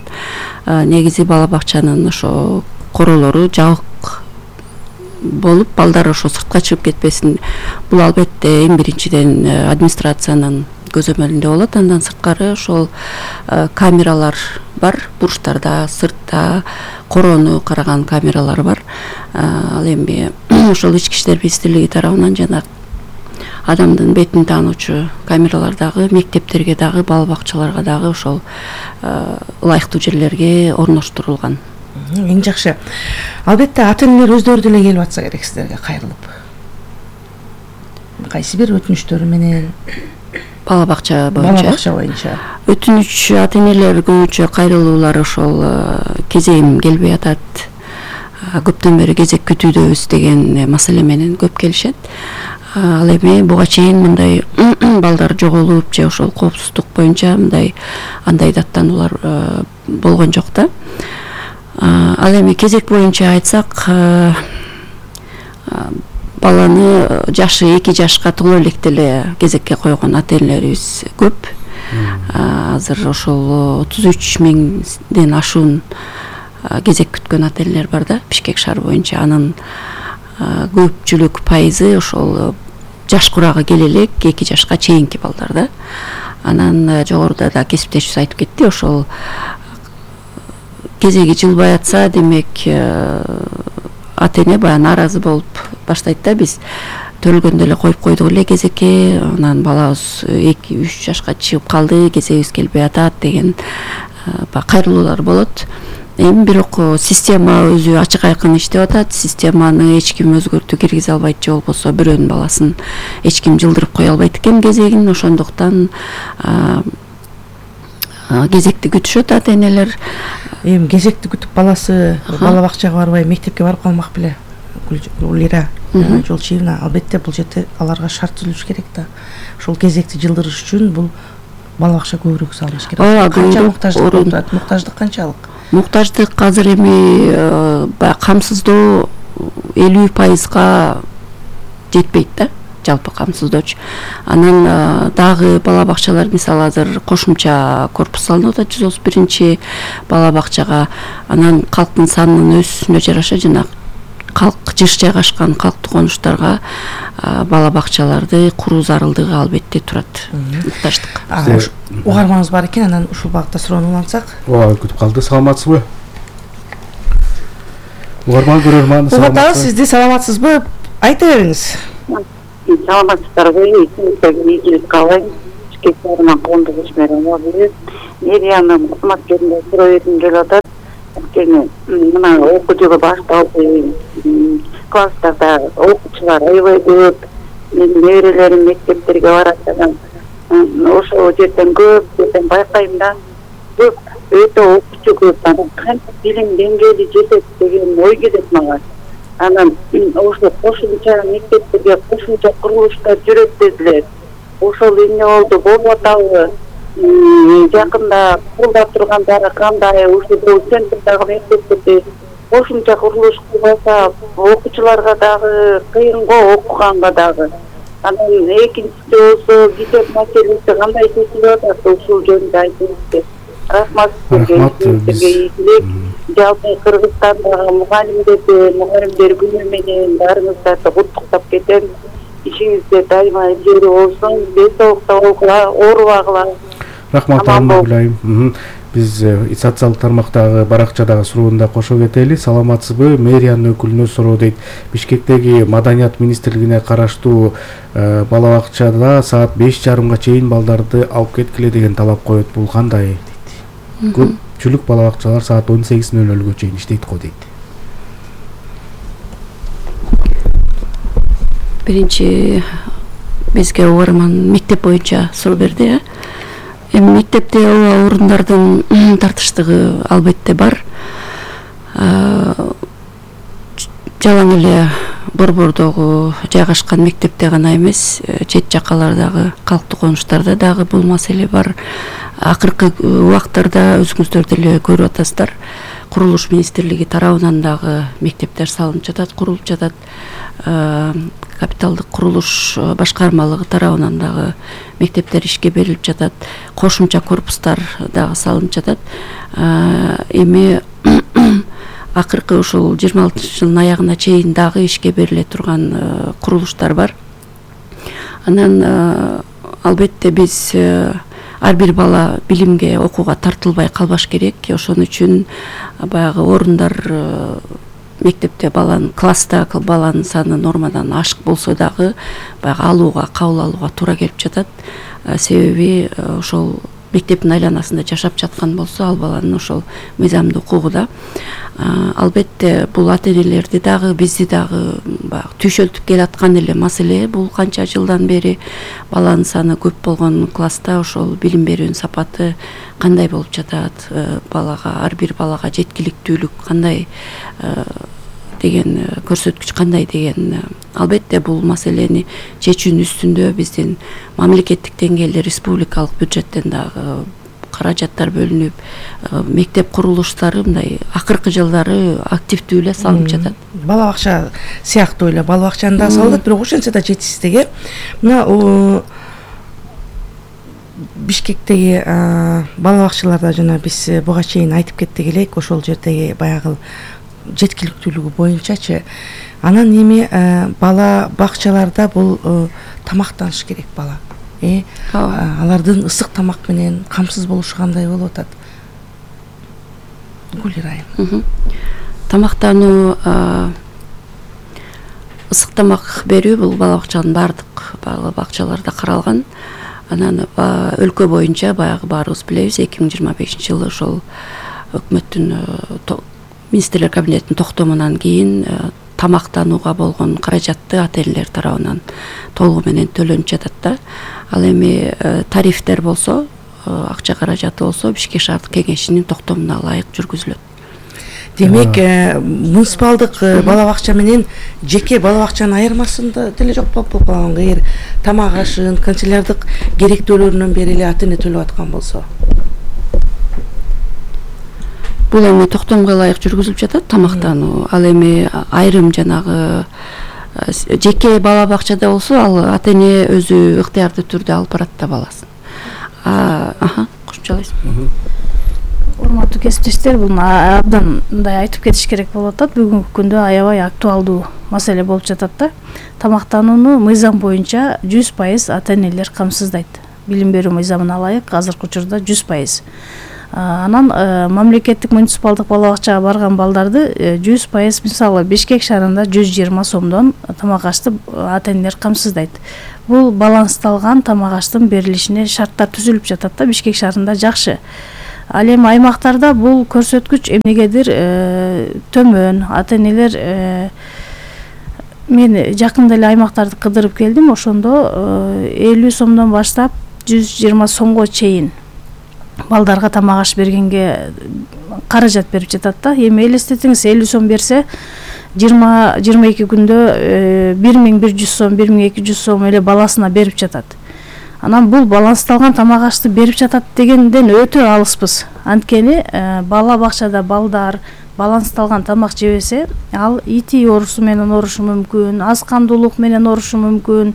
Speaker 5: Негизи бала бакчанын ошо королору жабык болуп, балдар ошо сыртка чыгып кетпесин. Бул албетте эң биринчиден администрациянын көзөмөлүндө болот. Андан сырткары ошол камералар бар, бурчтарда, сыртта короону караган камералар бар. Ал эми ошол Ички иштер министрлиги тарабынан жана адамдын бетин таануучу камералар дагы мектептерге дагы, бала бакчаларга дагы ошол ылайыктуу жерлерге орноштурулган.
Speaker 3: Эң жакшы. Албетте ата-энелер өздөрү деле келип атса керек сиздерге кайрылып. Кайсы бир өтүнүчтөрү менен
Speaker 5: бала бакча боюнча өтүнүч ата-энелер көбүнчө кайрылуулар ошол кезегим келбей атат, көптөн бери кезек күтүүдөбүз деген маселе менен көп келишет. Ал эми буга чейин мындай балдар жоголуп же ошол коопсуздук боюнча мындай андай даттануулар болгон жок да. Ал эми кезек боюнча айтсак, баланы жашы 2 жашка толо электе эле кезекке койгон ата-энелерибиз көп. Азыр ошол 33 миңден ашуун кезек күткөн ата-энелер бар да Бишкек шаары боюнча. Анын көпчүлүк пайызы ошол жаш курагы келе элек 2 жашка чейинки балдар да. Анан жогоруда да кесиптешибиз айтып кетти, ошол кезеги жылбай атса, демек ата-эне баягы нааразы болуп баштайт да. Биз төлгөндө эле коюп койдук эле кезекке, анан балабыз 2-3 жашка чыгып калды, кезегибиз келбей атат деген кайрылуулар болот. Эми бирок система өзү ачык айкын иштеп атат. Системаны эч ким өзгөртүү киргизе албайт, же болбосо бирөөнүн баласын эч ким жылдырып кое албайт экен кезегин. Ошондуктан кезекти күтүшөт ата-энелер.
Speaker 3: Эми кезекти күтүп баласы бала бакчага барбай мектепке барып калмак беле Гулира? жол чыйымына албетте бул жерде аларга шарт түзүлүш керек да. Ушул кезекти жылдырыш үчүн бул бала бакча көбүрөөк салыныш керек. Канча муктаждык канчалык?
Speaker 5: Муктаждык азыр эми камсыздоо 50%га жетпейт да, жалпы камсыздоочу. Анан дагы бала бакчалар мисалы азыр кошумча корпус салынып атат 131 бала бакчага. Анан калктын санынын өсүшүнө жараша жана калк жыш жайгашкан калктуу конуштарга бала бакчаларды куруу зарылдыгы албетте турат. Муктаждык.
Speaker 3: Угармаңыз бар экен, анан ушул багытта суроону улантсак.
Speaker 2: Ооба, күтүп калды. Саламатсызбы? Угарман көрөрман,
Speaker 3: саламатсызбы? Сизди саламатсызбы? Айта бериңиз.
Speaker 6: Саламатсыздарбы? Ийгилик каалайм. Кечээринен коомдук ишмердин Мериянын кызматкеринде суроо бергим келип атат. Анткени мына окуу жылы башталды. Класстарда окуучулар аябай көп. Менин неберелерим мектептерге барат. Ошол жерден көп байкайм да. Көп өтө окуучу көп. Кантип билим деңгээли жетет деген ой келет мага. Анан ошо кошумча мектептерге кошумча курулуштар жүрөт дедилер. Ошол эмне болду, болуп атабы? Жакында курулап тургандары кандай? Ушул центрдагы мектептерде кошумча курулуш кылбаса, окуучуларга дагы кыйынго, окуганга дагы. Анан экинчиси болсо китеп маселеси кандай чечилип атат, ушул жөнүндө айтыңызчы. Рахмат сизге. Жалпы Кыргызстандагы мугалимдер күнү менен баарыңыздарды куттуктап кетем. Ишиңизде дайыма илгери болсун, ден соолукта оорубагыла.
Speaker 2: Рахмат Абдулайым. Биз социалдык тармактагы баракчадагы суроонда кошо кетели. Саламатсызбы? Мэриянын өкүлүнө суроо дейт. Бишкектеги Маданият министрлигине караштуу бала бакчада саат 5:30 чейин балдарды алып кеткиле деген талап коет. Бул кандай? Көпчүлүк бала бакчалар саат 18:00 чейин иштейт го дейт.
Speaker 5: Биринчи бизге угарман мектеп боюнча суроо берди. Эми мектепте орундардын тартыштыгы албетте бар. Жалаң эле борбордогу жайгашкан мектепте гана эмес, чет жакалардагы калктуу конуштарда дагы бул маселе бар. Акыркы убактарда өзүңүздөр деле көрүп атасыздар. Курулуш министрлиги тарабынан дагы мектептер салынып жатат, курулуп жатат. Капиталдык курулуш башкармалыгы тарабынан дагы мектептер ишке берилип жатат. Кошумча корпустар дагы салынып жатат. Эми акыркы ушул 26-жылдын аягына чейин дагы ишке бериле турган курулуштар бар. Анан албетте биз ар бир бала билимге, окууга тартылбай калбаш керек. Ошон үчүн баягы орундар мектепте класста баланын саны нормадан ашык болсо дагы баягы кабыл алууга туура келип жатат. Себеби ошол мектептин айланасында жашап жаткан болсо, ал баланын ошол мыйзамдуу укугу да. Албетте бул ата-энелерди дагы, бизди дагы түйшөлтүп келаткан эле маселе. Бул канча жылдан бери баланын саны көп болгон класста ошол билим берүүнүн сапаты кандай болуп жатат, ар бир балага жеткиликтүүлүк кандай деген көрсөткүч кандай деген. Албетте бул маселени чечүүнүн үстүндө биздин мамлекеттик деңгээлде республикалык бюджеттен дагы каражаттар бөлүнүп, мектеп курулуштары мындай акыркы жылдары активдүү эле салынып жатат.
Speaker 3: Бала бакча сыяктуу эле бала бакчаны да салат, бирок ошентсе да жетишсиздик. Мына Бишкектеги бала бакчаларда жана биз буга чейин айтып кеттик элек, ошол жердеги баягы жеткиликтүүлүгү боюнчачы. Анан эми бала бакчаларда бул тамактаныш керек бала. Алардын ысык тамак менен камсыз болушу кандай болуп атат? Гүлирайым.
Speaker 5: Тамактануу, ысык тамак берүү бул бала бакчанын бардык бала бакчаларда каралган. Анан өлкө боюнча баягы баарыбыз билебиз, 2025-жылы ошол өкмөттүн министрлер кабинетинин токтомунан кийин тамактанууга болгон каражатты ата-энелер тарабынан толугу менен төлөнүп жатат да. Ал эми тарифтер болсо, акча каражаты болсо Бишкек шаардык кеңешинин токтомуна ылайык жүргүзүлөт.
Speaker 3: Демек муниципалдык бала бакча менен жеке бала бакчанын айырмасында деле жок болуп калган. Эгер тамак ашын, канцелярлык керектөөлөрүнөн бери эле ата эне төлөп аткан болсо.
Speaker 5: Бул эми токтомго ылайык жүргүзүлүп жатат тамактануу. Ал эми айрым жанагы жеке бала бакчада болсо ал ата эне өзү ыктыярдуу түрдө алып барат да баласын. Кошумчалайсыз.
Speaker 4: Урматтуу кесиптештер, бул абдан мындай айтып кетиш керек болуп атат. Бүгүнкү күндө аябай актуалдуу маселе болуп жатат да. Тамактанууну мыйзам боюнча 100% ата энелер камсыздайт. Билим берүү мыйзамына ылайык азыркы учурда 100%. Анан мамлекеттик муниципалдык бала бакчага барган балдарды 100% мисалы Бишкек шаарында 120 сомдон тамак ашты ата энелер камсыздайт. Бул балансталган тамак аштын берилишине шарттар түзүлүп жатат да Бишкек шаарында жакшы. Ал эми аймактарда бул көрсөткүч эмнегедир төмөн. Ата энелер мен жакында эле аймактарды кыдырып келдим. Ошондо 50 сомдон баштап 120 сомго чейин балдарга тамак аш бергенге каражат берип жатат да. Эми элестетиңиз, 50 сом берсе 20-22 күндө 1100 сом, 1200 сом эле баласына берип жатат. Анан бул балансталган тамак ашты берип жатат дегенден өтө алыспыз. Анткени бала бакчада балдар балансталган тамак жебесе, ал ити оорусу менен оорушу мүмкүн, аз кандуулук менен оорушу мүмкүн,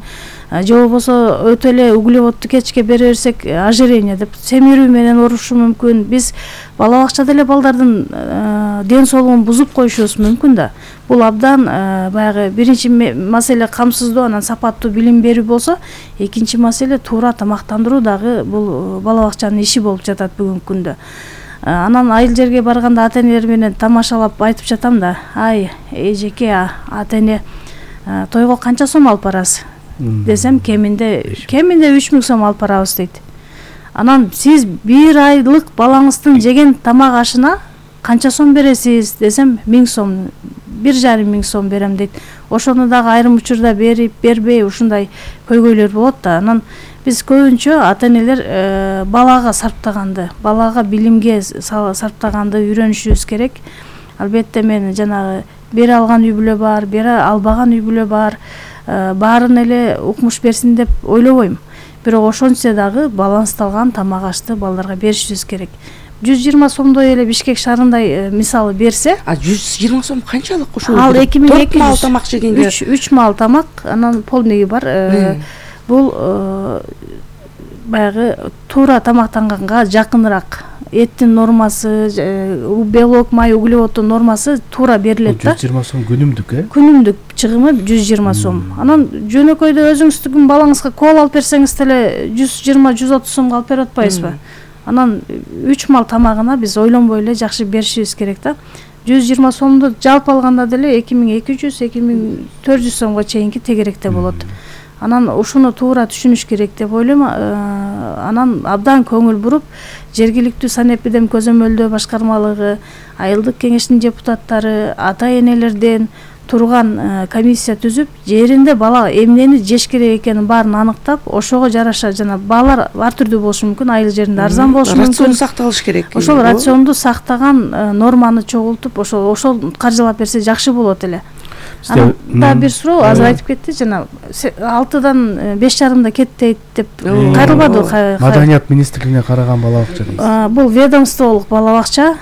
Speaker 4: же болбосо өтө эле углеводду кечке бере берсек ожирение деп семирүү менен оорушу мүмкүн. Биз бала бакчада эле балдардын ден соолугун бузуп коюшубуз мүмкүн да. Бул абдан баягы биринчи маселе камсыздоо, анан сапаттуу билим берүү болсо, экинчи маселе туура тамактандыруу дагы бул бала бакчанын иши болуп жатат бүгүнкү күндө. Анан айыл жерге барганда ата энелер менен тамашалап айтып жатам да, ай эжеке ата эне тойго канча сом алып барасыз десем, кеминде 3000 сом алып барабыз дейт. Анан сиз бир айлык балаңыздын жеген тамак ашына канча сом бересиз десем, 1000 сом, 1,5 сом берем дейт. Ошону дагы айрым учурда берип, бербей ушундай көйгөйлөр болот да. Анан биз көбүнчө ата энелер балага сарптаганды, балага билимге сарптаганды үйрөнүшүбүз керек. Албетте мен жанагы бере алган үй бүлө бар, бере албаган үй бүлө бар. Баарын эле укмуш берсин деп ойлобойм. Бирок ошончо дагы балансталган тамак ашты балдарга беришибиз керек. 120 сомдой эле Бишкек шаарындай мисалы берсе,
Speaker 3: 120 сом канчалык ошол?
Speaker 4: Ал 2200
Speaker 3: мал тамак жегенге
Speaker 4: 3 мал тамак, анан полныйы бар. Бул баягы туура тамактанганга жакыныраак. Эттин нормасы, белок, май, углеводдун нормасы туура берилет да.
Speaker 2: 120 сом күнүмдүк,
Speaker 4: Күнүмдүк чыгымы 120 сом. Анан жөнөкөйдө өзүңүздүн балаңызга кол алып берсеңиз деле 120-130 сомго алып берип атпайсызбы? Анан 3 мал тамагына биз ойлонбой эле жакшы беришибиз керек да. 120 сомду жалпы алганда деле 2200-2400 сомго чейинки тегеректе болот. Анан ушуну туура түшүнүш керек деп ойлойм. Анан абдан көңүл буруп, жергиликтүү санэпидем көзөмөлдөө башкармалыгы, айылдык кеңештин депутаттары, ата энелерден турган комиссия түзүп, жеринде бала эмнени жеш керек экенин баарын аныктап, ошого жараша жана баалар ар түрдүү болушу мүмкүн, айыл жеринде арзан болушу мүмкүн.
Speaker 3: Рацион сакталыш керек.
Speaker 4: Ошол рационду сактаган норманы чогултуп, ошол каржылап берсе жакшы болот эле. Анан да бир суроо азыр айтып кетти, жана 6-дан 5,5 кетти деп кайрылбады.
Speaker 2: Маданият министрлигине караган бала бакча дейсиз.
Speaker 4: Бул ведомстволук бала бакча,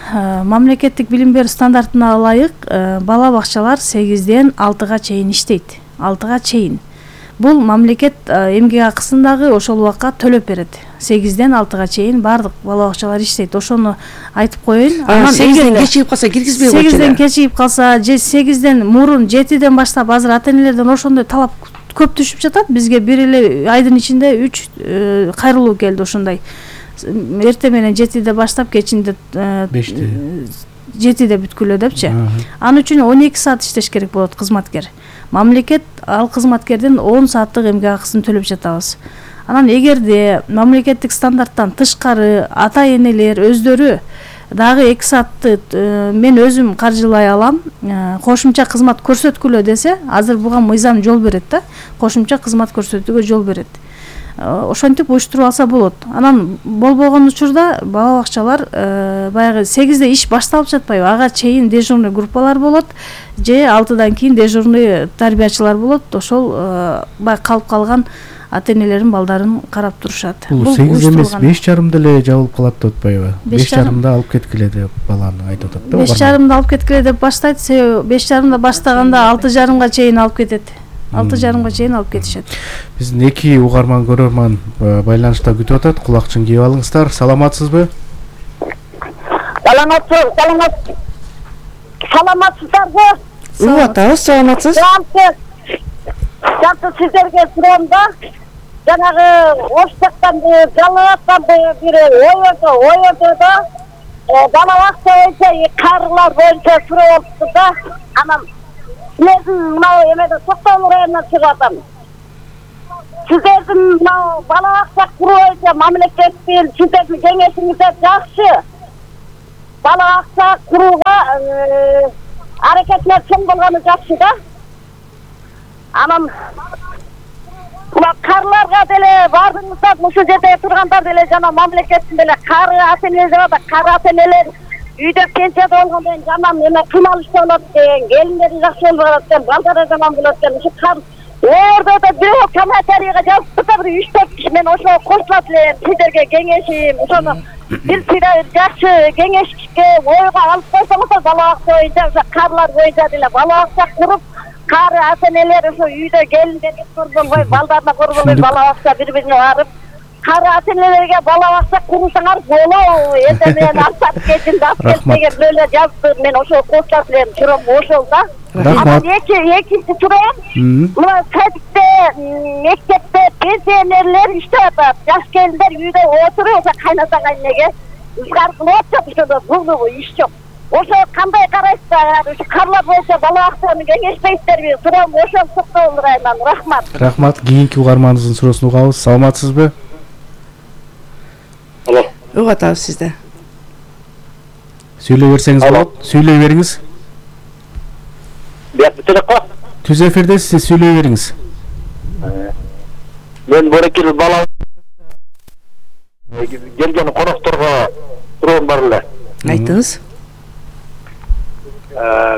Speaker 4: мамлекеттик билим берүү стандартына ылайык бала бакчалар 8-ден 6-га чейин иштейт. 6-га чейин. Бул мамлекет эмгек акысын дагы ошол убакка төлөп берет. 8-ден 6-га чейин бардык бала бакчалар иштейт. Ошону айтып коеюн.
Speaker 3: Анан 8-ден кечигип калса киргизбей койчу.
Speaker 4: 8-ден кечигип калса, же 8-ден мурун 7-ден баштап азыр ата энелерден ошондой талап көп түшүп жатат. Бизге бир эле айдын ичинде 3 кайрылуу келди ошондой. Эртең менен 7-де баштап, кечинде
Speaker 2: 5-те.
Speaker 4: 7-де бүткүлө депчи. Анын үчүн 12 саат иштеш керек болот кызматкер. Мамлекет ал кызматкерден 10 сааттык эмгек акысын төлөп жатабыз. Анан эгерде мамлекеттик стандарттан тышкары ата энелер өздөрү дагы 2 саатты мен өзүм каржылай алам, кошумча кызмат көрсөткүлө десе, азыр буга мыйзам жол берет да, кошумча кызмат көрсөтүүгө жол берет. ошентип уюштуруп алса болот. Анан болбогон учурда бала бакчалар баягы 8-де иш башталып жатпайбы? Ага чейин дежурный группалар болот же 6-дан кийин дежурный тарбиячылар болот. Ошол баягы калып калган ата-энелердин балдарын карап турушат.
Speaker 2: Бул 8 эмес 5:30 эле жабылып калат деп атпайбы? 5:30 алып кеткиле деп баланы айтып атат да.
Speaker 4: 5:30 алып кеткиле деп баштайт. 5:30 баштаганда 6:30 чейин алып кетет. 6:30 чейин алып кетишет.
Speaker 2: Биздин эки угарман көрөрман байланышта күтүп атат. Кулакчын кийип алыңыздар. Саламатсызбы?
Speaker 6: Саламатсыздарбы?
Speaker 3: Атабыз, саламатсыз?
Speaker 6: Жалпы сиздерге сурам да, жанагы оштактанды, жалааттанды бир ойордо да, бала бакча боюнча, карылар боюнча суроо болупту да. Анан силердин мынау эмеде Токтогул районунан чыгып атам. Сиздердин мынау бала бакча куруу боюнча мамлекеттин сиздердин кеңешиңизде жакшы бала бакча курууга аракеттер чоң болгону жакшы да. Анан мына карларга деле бардыңыздар, ушул жерде тургандар деле жана мамлекеттин деле кары ата-энелер бар, кары ата-энелер үйдө пенсияда болгондон кийин жаман эме кыйналышта болот экен, келиндери жакшы болбой экен, балдары жаман болот экен. Ушу кар ордодо бирөө комментарийге жазып турса бир 3-4 киши мен ошого кошулат элем. Сиздерге кеңешим, ошону бир жакшы кеңешке ойго алып койсоңуздар бала бакча боюнча, ошо карлар боюнча деле бала бакча куруп, кары ата-энелер ошо үйдө келиндерге көрбөй, балдарына көрбөй, бала бакча бири-бирине барып, кары ата-энелерге бала бакча курсаңар болобу? Эndi мен артап кетим, деген бирөөлөр жазды, мен ошого кошулат элем, сурам ошол да. Анан экинчи сурам, мына садикте, мектепте пенсионерлер иштеп атат, жаш келиндер үйдө отуруп, ошо кайната кайнеге ызгар кылып атат, ошондо булдугу иш жок. Ошо кандай карайсыздар? Ушу карлар боюнча бала бакчаны кеңешпейсиздерби? Сурам ошол Токтогул районунан. Рахмат.
Speaker 2: Рахмат. Кийинки угарманыбыздын суроосун угабыз. Саламатсызбы?
Speaker 7: Алло.
Speaker 3: Угатабыз сизди.
Speaker 2: Сүйлөй берсеңиз болот. Сүйлөй бериңиз.
Speaker 7: Телефон.
Speaker 2: Түз эфирдесиз, сиз сүйлөй бериңиз.
Speaker 7: Мен борекил бала келген конокторго суроом бар эле.
Speaker 3: Айтыңыз.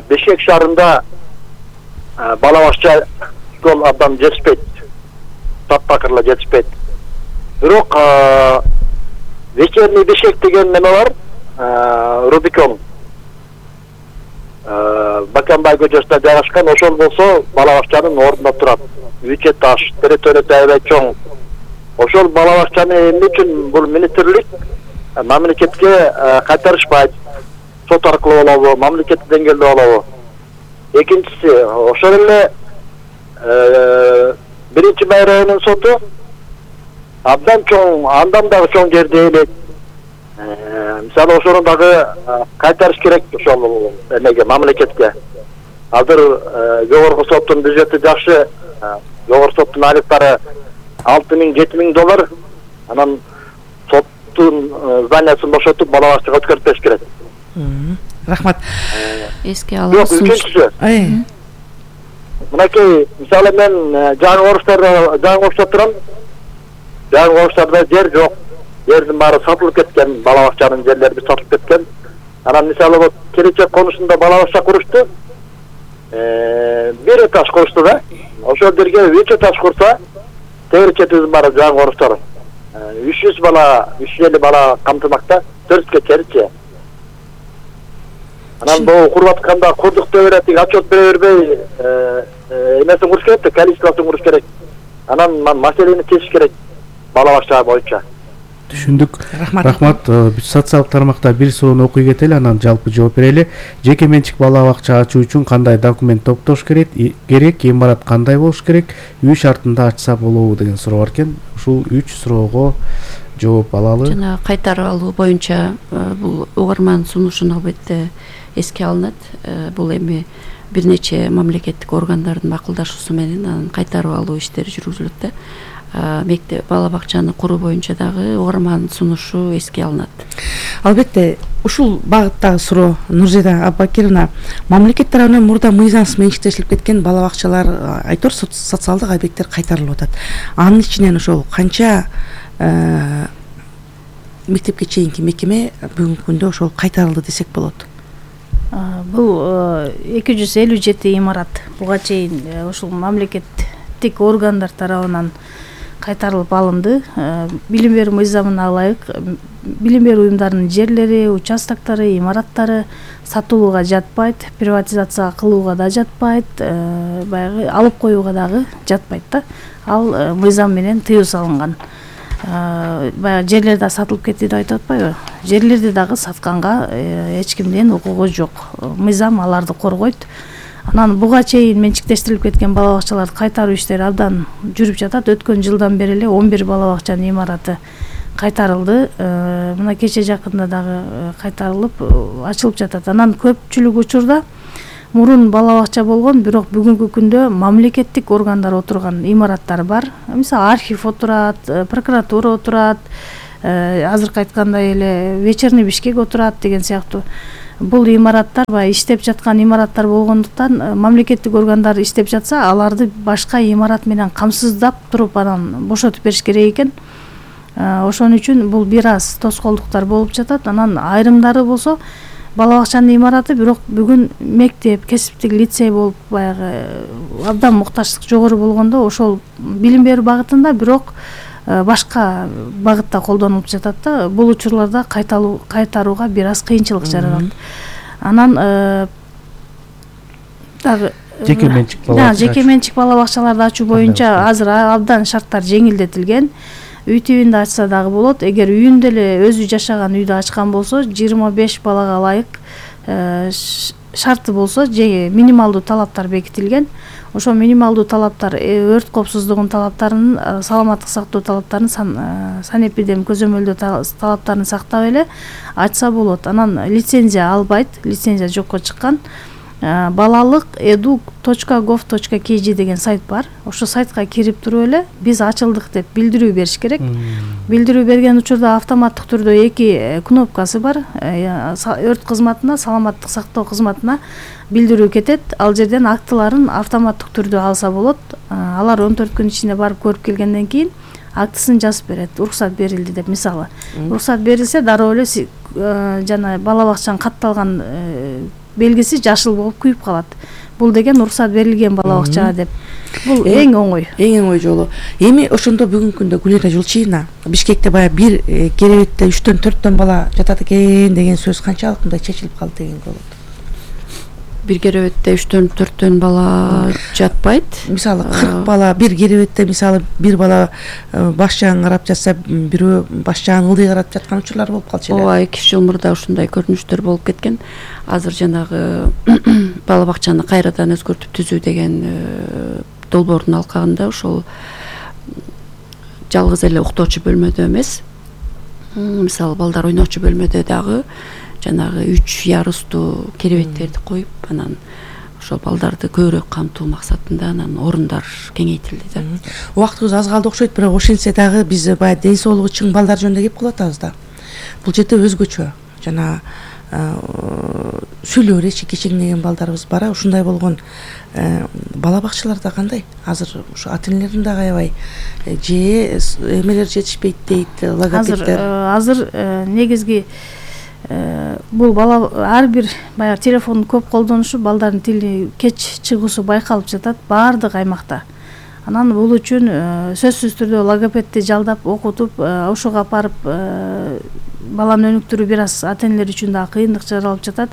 Speaker 7: Бешкек шаарында бала бакча жол абдан жетишпейт. Таптакырла жетишпейт. Бирок вечерний Бешкек деген неме бар, Рубикон. Баканбай көчөсүнө жайгашкан, ошол болсо бала бакчанын ордунда турат. Үчө таш, территориясы аябай чоң. Ошол бала бакчаны эмне үчүн бул министрлик мамлекетке кайтарышпайт? Сот аркылуу болобу, мамлекеттик деңгээлде болобу? Экинчиси, ошол эле биринчи Бай районунун соту абдан чоң, андан дагы чоң жерде элек. Мисалы ошону дагы кайтарыш керек ошол эмеге, мамлекетке. Азыр жогорку соттун бюджети жакшы, жогорку соттун айлыктары $6,000–7,000. Анан соттун зданиясын бошотуп бала бакчага өткөрүп бериш керек.
Speaker 3: Рахмат.
Speaker 5: Эске алабыз.
Speaker 7: Жок, үчүнчүсү. Мынакей, мисалы мен жаңы Орустарда турам. Жаңы Орустарда жер жок. Жердин баары сатылып кеткен, бала бакчанын жерлери сатылып кеткен. Анан мисалы вот келечек конушунда бала бакча курушту. Бир этаж курушту да. Ошол жерге 3 этаж курса, теричетибиз бар жаңы Орустар. 300 бала, 350 бала камтымакта, 400 керчи. Анан бул куруп атканда курдук деп берет, отчет бере бербей, эмесин куруш керек, количествосын куруш керек. Анан маселени чечиш керек бала бакча боюнча.
Speaker 2: Түшүндүк. Рахмат. Социалдык тармакта бир суроону окуй кетели, анан жалпы жооп берели. Жеке менчик бала бакча ачуу үчүн кандай документ топтош керек, имарат кандай болуш керек, үй шартында ачса болобу деген суроо бар экен. Ушул 3 суроого жооп алалы.
Speaker 5: Жана кайтарып алуу боюнча бул угарман сунушун албетте эске алынат. Бул эми бир нече мамлекеттик органдардын макулдашуусу менен анан кайтарып алуу иштери жүргүзүлөт да. мектеп бала бакчаны куруу боюнча дагы угармандын сунушу эске алынат.
Speaker 3: Албетте ушул багыттагы суроо Нурзайда Аббакировна, мамлекет тарабынан мурда мыйзамсыз менчиктешилип кеткен бала бакчалар, айтор социалдык объекттер кайтарылып атат. Анын ичинен ошол канча мектепке чейинки мекеме бүгүнкү күндө ошол кайтарылды десек болот?
Speaker 4: Бул 257 имарат буга чейин ушул мамлекеттик органдар тарабынан кайтарылып алынды. Билим берүү мыйзамына ылайык билим берүү уюмдарынын жерлери, участоктору, имараттары сатылууга жатпайт, приватизация кылууга да жатпайт, баягы алып коюуга дагы жатпайт да. Ал мыйзам менен тыюу салынган. Баягы жерлер да сатылып кетти деп айтып атпайбы? Жерлерди дагы сатканга эч кимдин укугу жок. Мыйзам аларды коргойт. Анан буга чейин менчиктештирилип кеткен бала бакчаларды кайтаруу иштери абдан жүрүп жатат. Өткөн жылдан бери эле 11 бала бакчанын имараты кайтарылды. Мына кече жакында дагы кайтарылып ачылып жатат. Анан көпчүлүк учурда мурун бала бакча болгон, бирок бүгүнкү күндө мамлекеттик органдар отурган имараттар бар. Мисалы архив отурат, прокуратура отурат, азыркы айткандай эле вечерний Бишкек отурат деген сыяктуу. Бул имараттар баягы иштеп жаткан имараттар болгондуктан мамлекеттик органдар иштеп жатса, аларды башка имарат менен камсыздап туруп анан бошотуп бериш керек экен. Ошон үчүн бул бир аз тоскоолдуктар болуп жатат. Анан айрымдары болсо бала бакчанын имараты, бирок бүгүн мектеп, кесиптик лицей болуп баягы абдан муктаждык жогору болгондо ошол билим берүү багытында, бирок башка багытта колдонулуп жатат да. Бул учурларда кайтарууга бир аз кыйынчылык жаралат. Анан дагы
Speaker 2: жеке
Speaker 4: менчик бала бакчаларды ачуу боюнча азыр абдан шарттар жеңилдетилген. Үй тибинде ачса дагы болот. Эгер үйүндө эле өзү жашаган үйдө ачкан болсо, 25 балага ылайык шарты болсо, минималдуу талаптар бекитилген. Ошо минималдуу талаптар өрт коопсуздугунун талаптарын, саламаттык сактоо талаптарын, санэпидем көзөмөлдөө талаптарын сактап эле ачса болот. Анан лицензия албайт, лицензия жокко чыккан. Балалык edu.gov.kg деген сайт бар. Ошо сайтка кирип туруп эле биз ачылдык деп билдирүү бериш керек. Билдирүү берген учурда автоматтык түрдө 2 кнопкасы бар. Өрт кызматына, саламаттык сактоо кызматына билдирүү кетет. Ал жерден актыларын автоматтык түрдө алса болот. Алар 14 күн ичинде барып көрүп келгенден кийин актысын жазып берет. Уруксат берилди деп, мисалы. Уруксат берилсе, дароо эле жана бала бакчанын катталган белгиси жашыл болуп күйүп калат. Бул деген уруксат берилген бала бакчага деп. Бул эң оңой жолу. Эми ошондо бүгүнкү күндө Гүлира Жулчиевна, Бишкекте баягы бир керебетте 3-4 бала жатат экен деген сөз канчалык мындай чечилип калды деген болот?
Speaker 5: Бир керебетте 3-4 бала жатпайт.
Speaker 3: Мисалы 40 бала бир керебетте, мисалы бир бала баш жагын карап жатса, бирөө баш жагын ылдый карап жаткан учурлар болуп калчу эле.
Speaker 5: Ооба, 2 жыл мурда ушундай көрүнүштөр болуп кеткен. Азыр жанагы бала бакчаны кайрадан өзгөртүп түзүү деген долбоордун алкагында ошол жалгыз эле уктоочу бөлмөдө эмес, мисалы балдар ойночу бөлмөдө дагы жанагы 3 ярустуу керебеттерди коюп, анан ошол балдарды көбүрөөк камтуу максатында анан орундар кеңейтилди да.
Speaker 3: Убактыбыз аз калды окшойт, бирок ошентсе дагы биз баягы ден соолугу чың балдар жөнүндө кеп калып атабыз да. Бул жерде өзгөчө жана сүйлөп речи кечеңдеген балдарыбыз бар. Ушундай болгон бала бакчаларда кандай? Азыр ушу ата энелердин дагы аябай же эмелер жетишпейт дейт, логопеддер.
Speaker 4: Азыр негизги бул бала ар бир баягы телефондун көп колдонушу, балдардын тили кеч чыгуусу байкалып жатат баардык аймакта. Анан бул үчүн сөзсүз түрдө логопедди жалдап окутуп, ошого апарып баланы өнүктүрүү бир аз ата энелер үчүн да кыйындык жаралып жатат.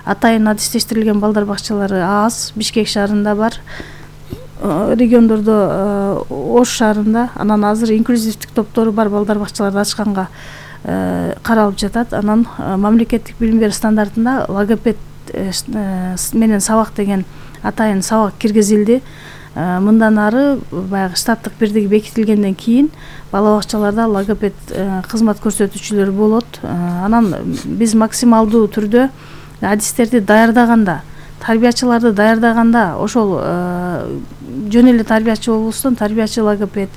Speaker 4: Атайын адистештирилген балдар бакчалары аз, Бишкек шаарында бар, региондордо Ош шаарында. Анан азыр инклюзивдик топтору бар балдар бакчаларды ачканга каралып жатат. Анан мамлекеттик билим берүү стандартында логопед менен сабак деген атайын сабак киргизилди. Мындан ары баягы штаттык бирдиги бекитилгенден кийин бала бакчаларда логопед кызмат көрсөтүүчүлөр болот. Анан биз максималдуу түрдө адистерди даярдаганда, тарбиячыларды даярдаганда ошол жөн эле тарбиячы болбостон тарбиячы логопед,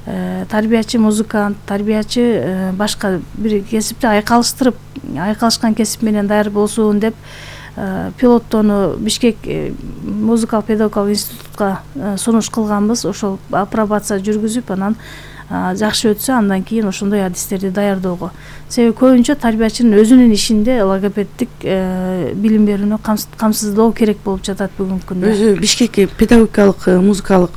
Speaker 4: тарбиячы музыкант, тарбиячы башка бир кесипти айкалышкан кесип менен даяр болсун деп пилоттоону Бишкек музыкалык педагогикалык институтка сунуш кылганбыз. Ошол апробация жүргүзүп, анан жакшы өтсө, андан кийин ошондой адистерди даярдоого. Себеби көбүнчө тарбиячынын өзүнүн ишинде логопеддик билим берүүнү камсыздоо керек болуп жатат бүгүнкү күндө.
Speaker 3: Өзү Бишкек педагогикалык музыкалык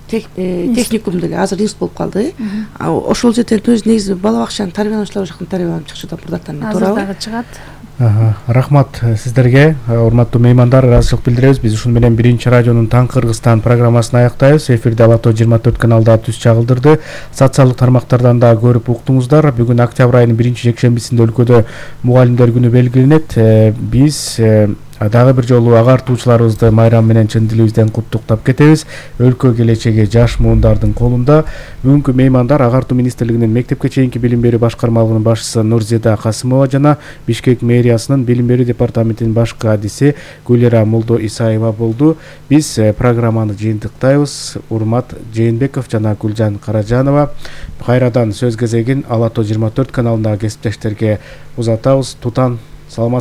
Speaker 3: техникум деле азыр институт болуп калды. Ошол жерден өзү негизи бала бакчанын тарбиялануучулары жактан таарбияланып чыкчу да мурдатан
Speaker 4: азыр дагы чыгат.
Speaker 2: Рахмат сиздерге, урматтуу меймандар, ыраазычылык билдиребиз. Биз ушун менен биринчи радионун Таң Кыргызстан программасын аяктайбыз. Эфирде Алато 24 каналда түз чагылдырды. Социалдык тармактардан да көрүп уктуңуздар. Бүгүн октябрь айынын 1-жекшембисинде өлкөдө мугалимдер күнү белгиленет. Биз дагы бир жолу агартуучуларыбызды майрам менен чын дилибизден куттуктап кетебиз. Өлкө келечеги жаш муундардын колунда. Бүгүнкү меймандар Агартуу министрлигинин мектепке чейинки билим берүү башкармалыгынын башчысы Нурзида Касымова жана Бишкек мэриясынын билим берүү департаментинин башкы адиси Гүлера Молдо Исаева болду. Биз программаны жыйынтыктайбыз. Урмат Жээнбеков жана Гүлжан Каражанова. Кайрадан сөз кезегин Алато 24 каналындагы кесиптештерге узатабыз. Тутан саламат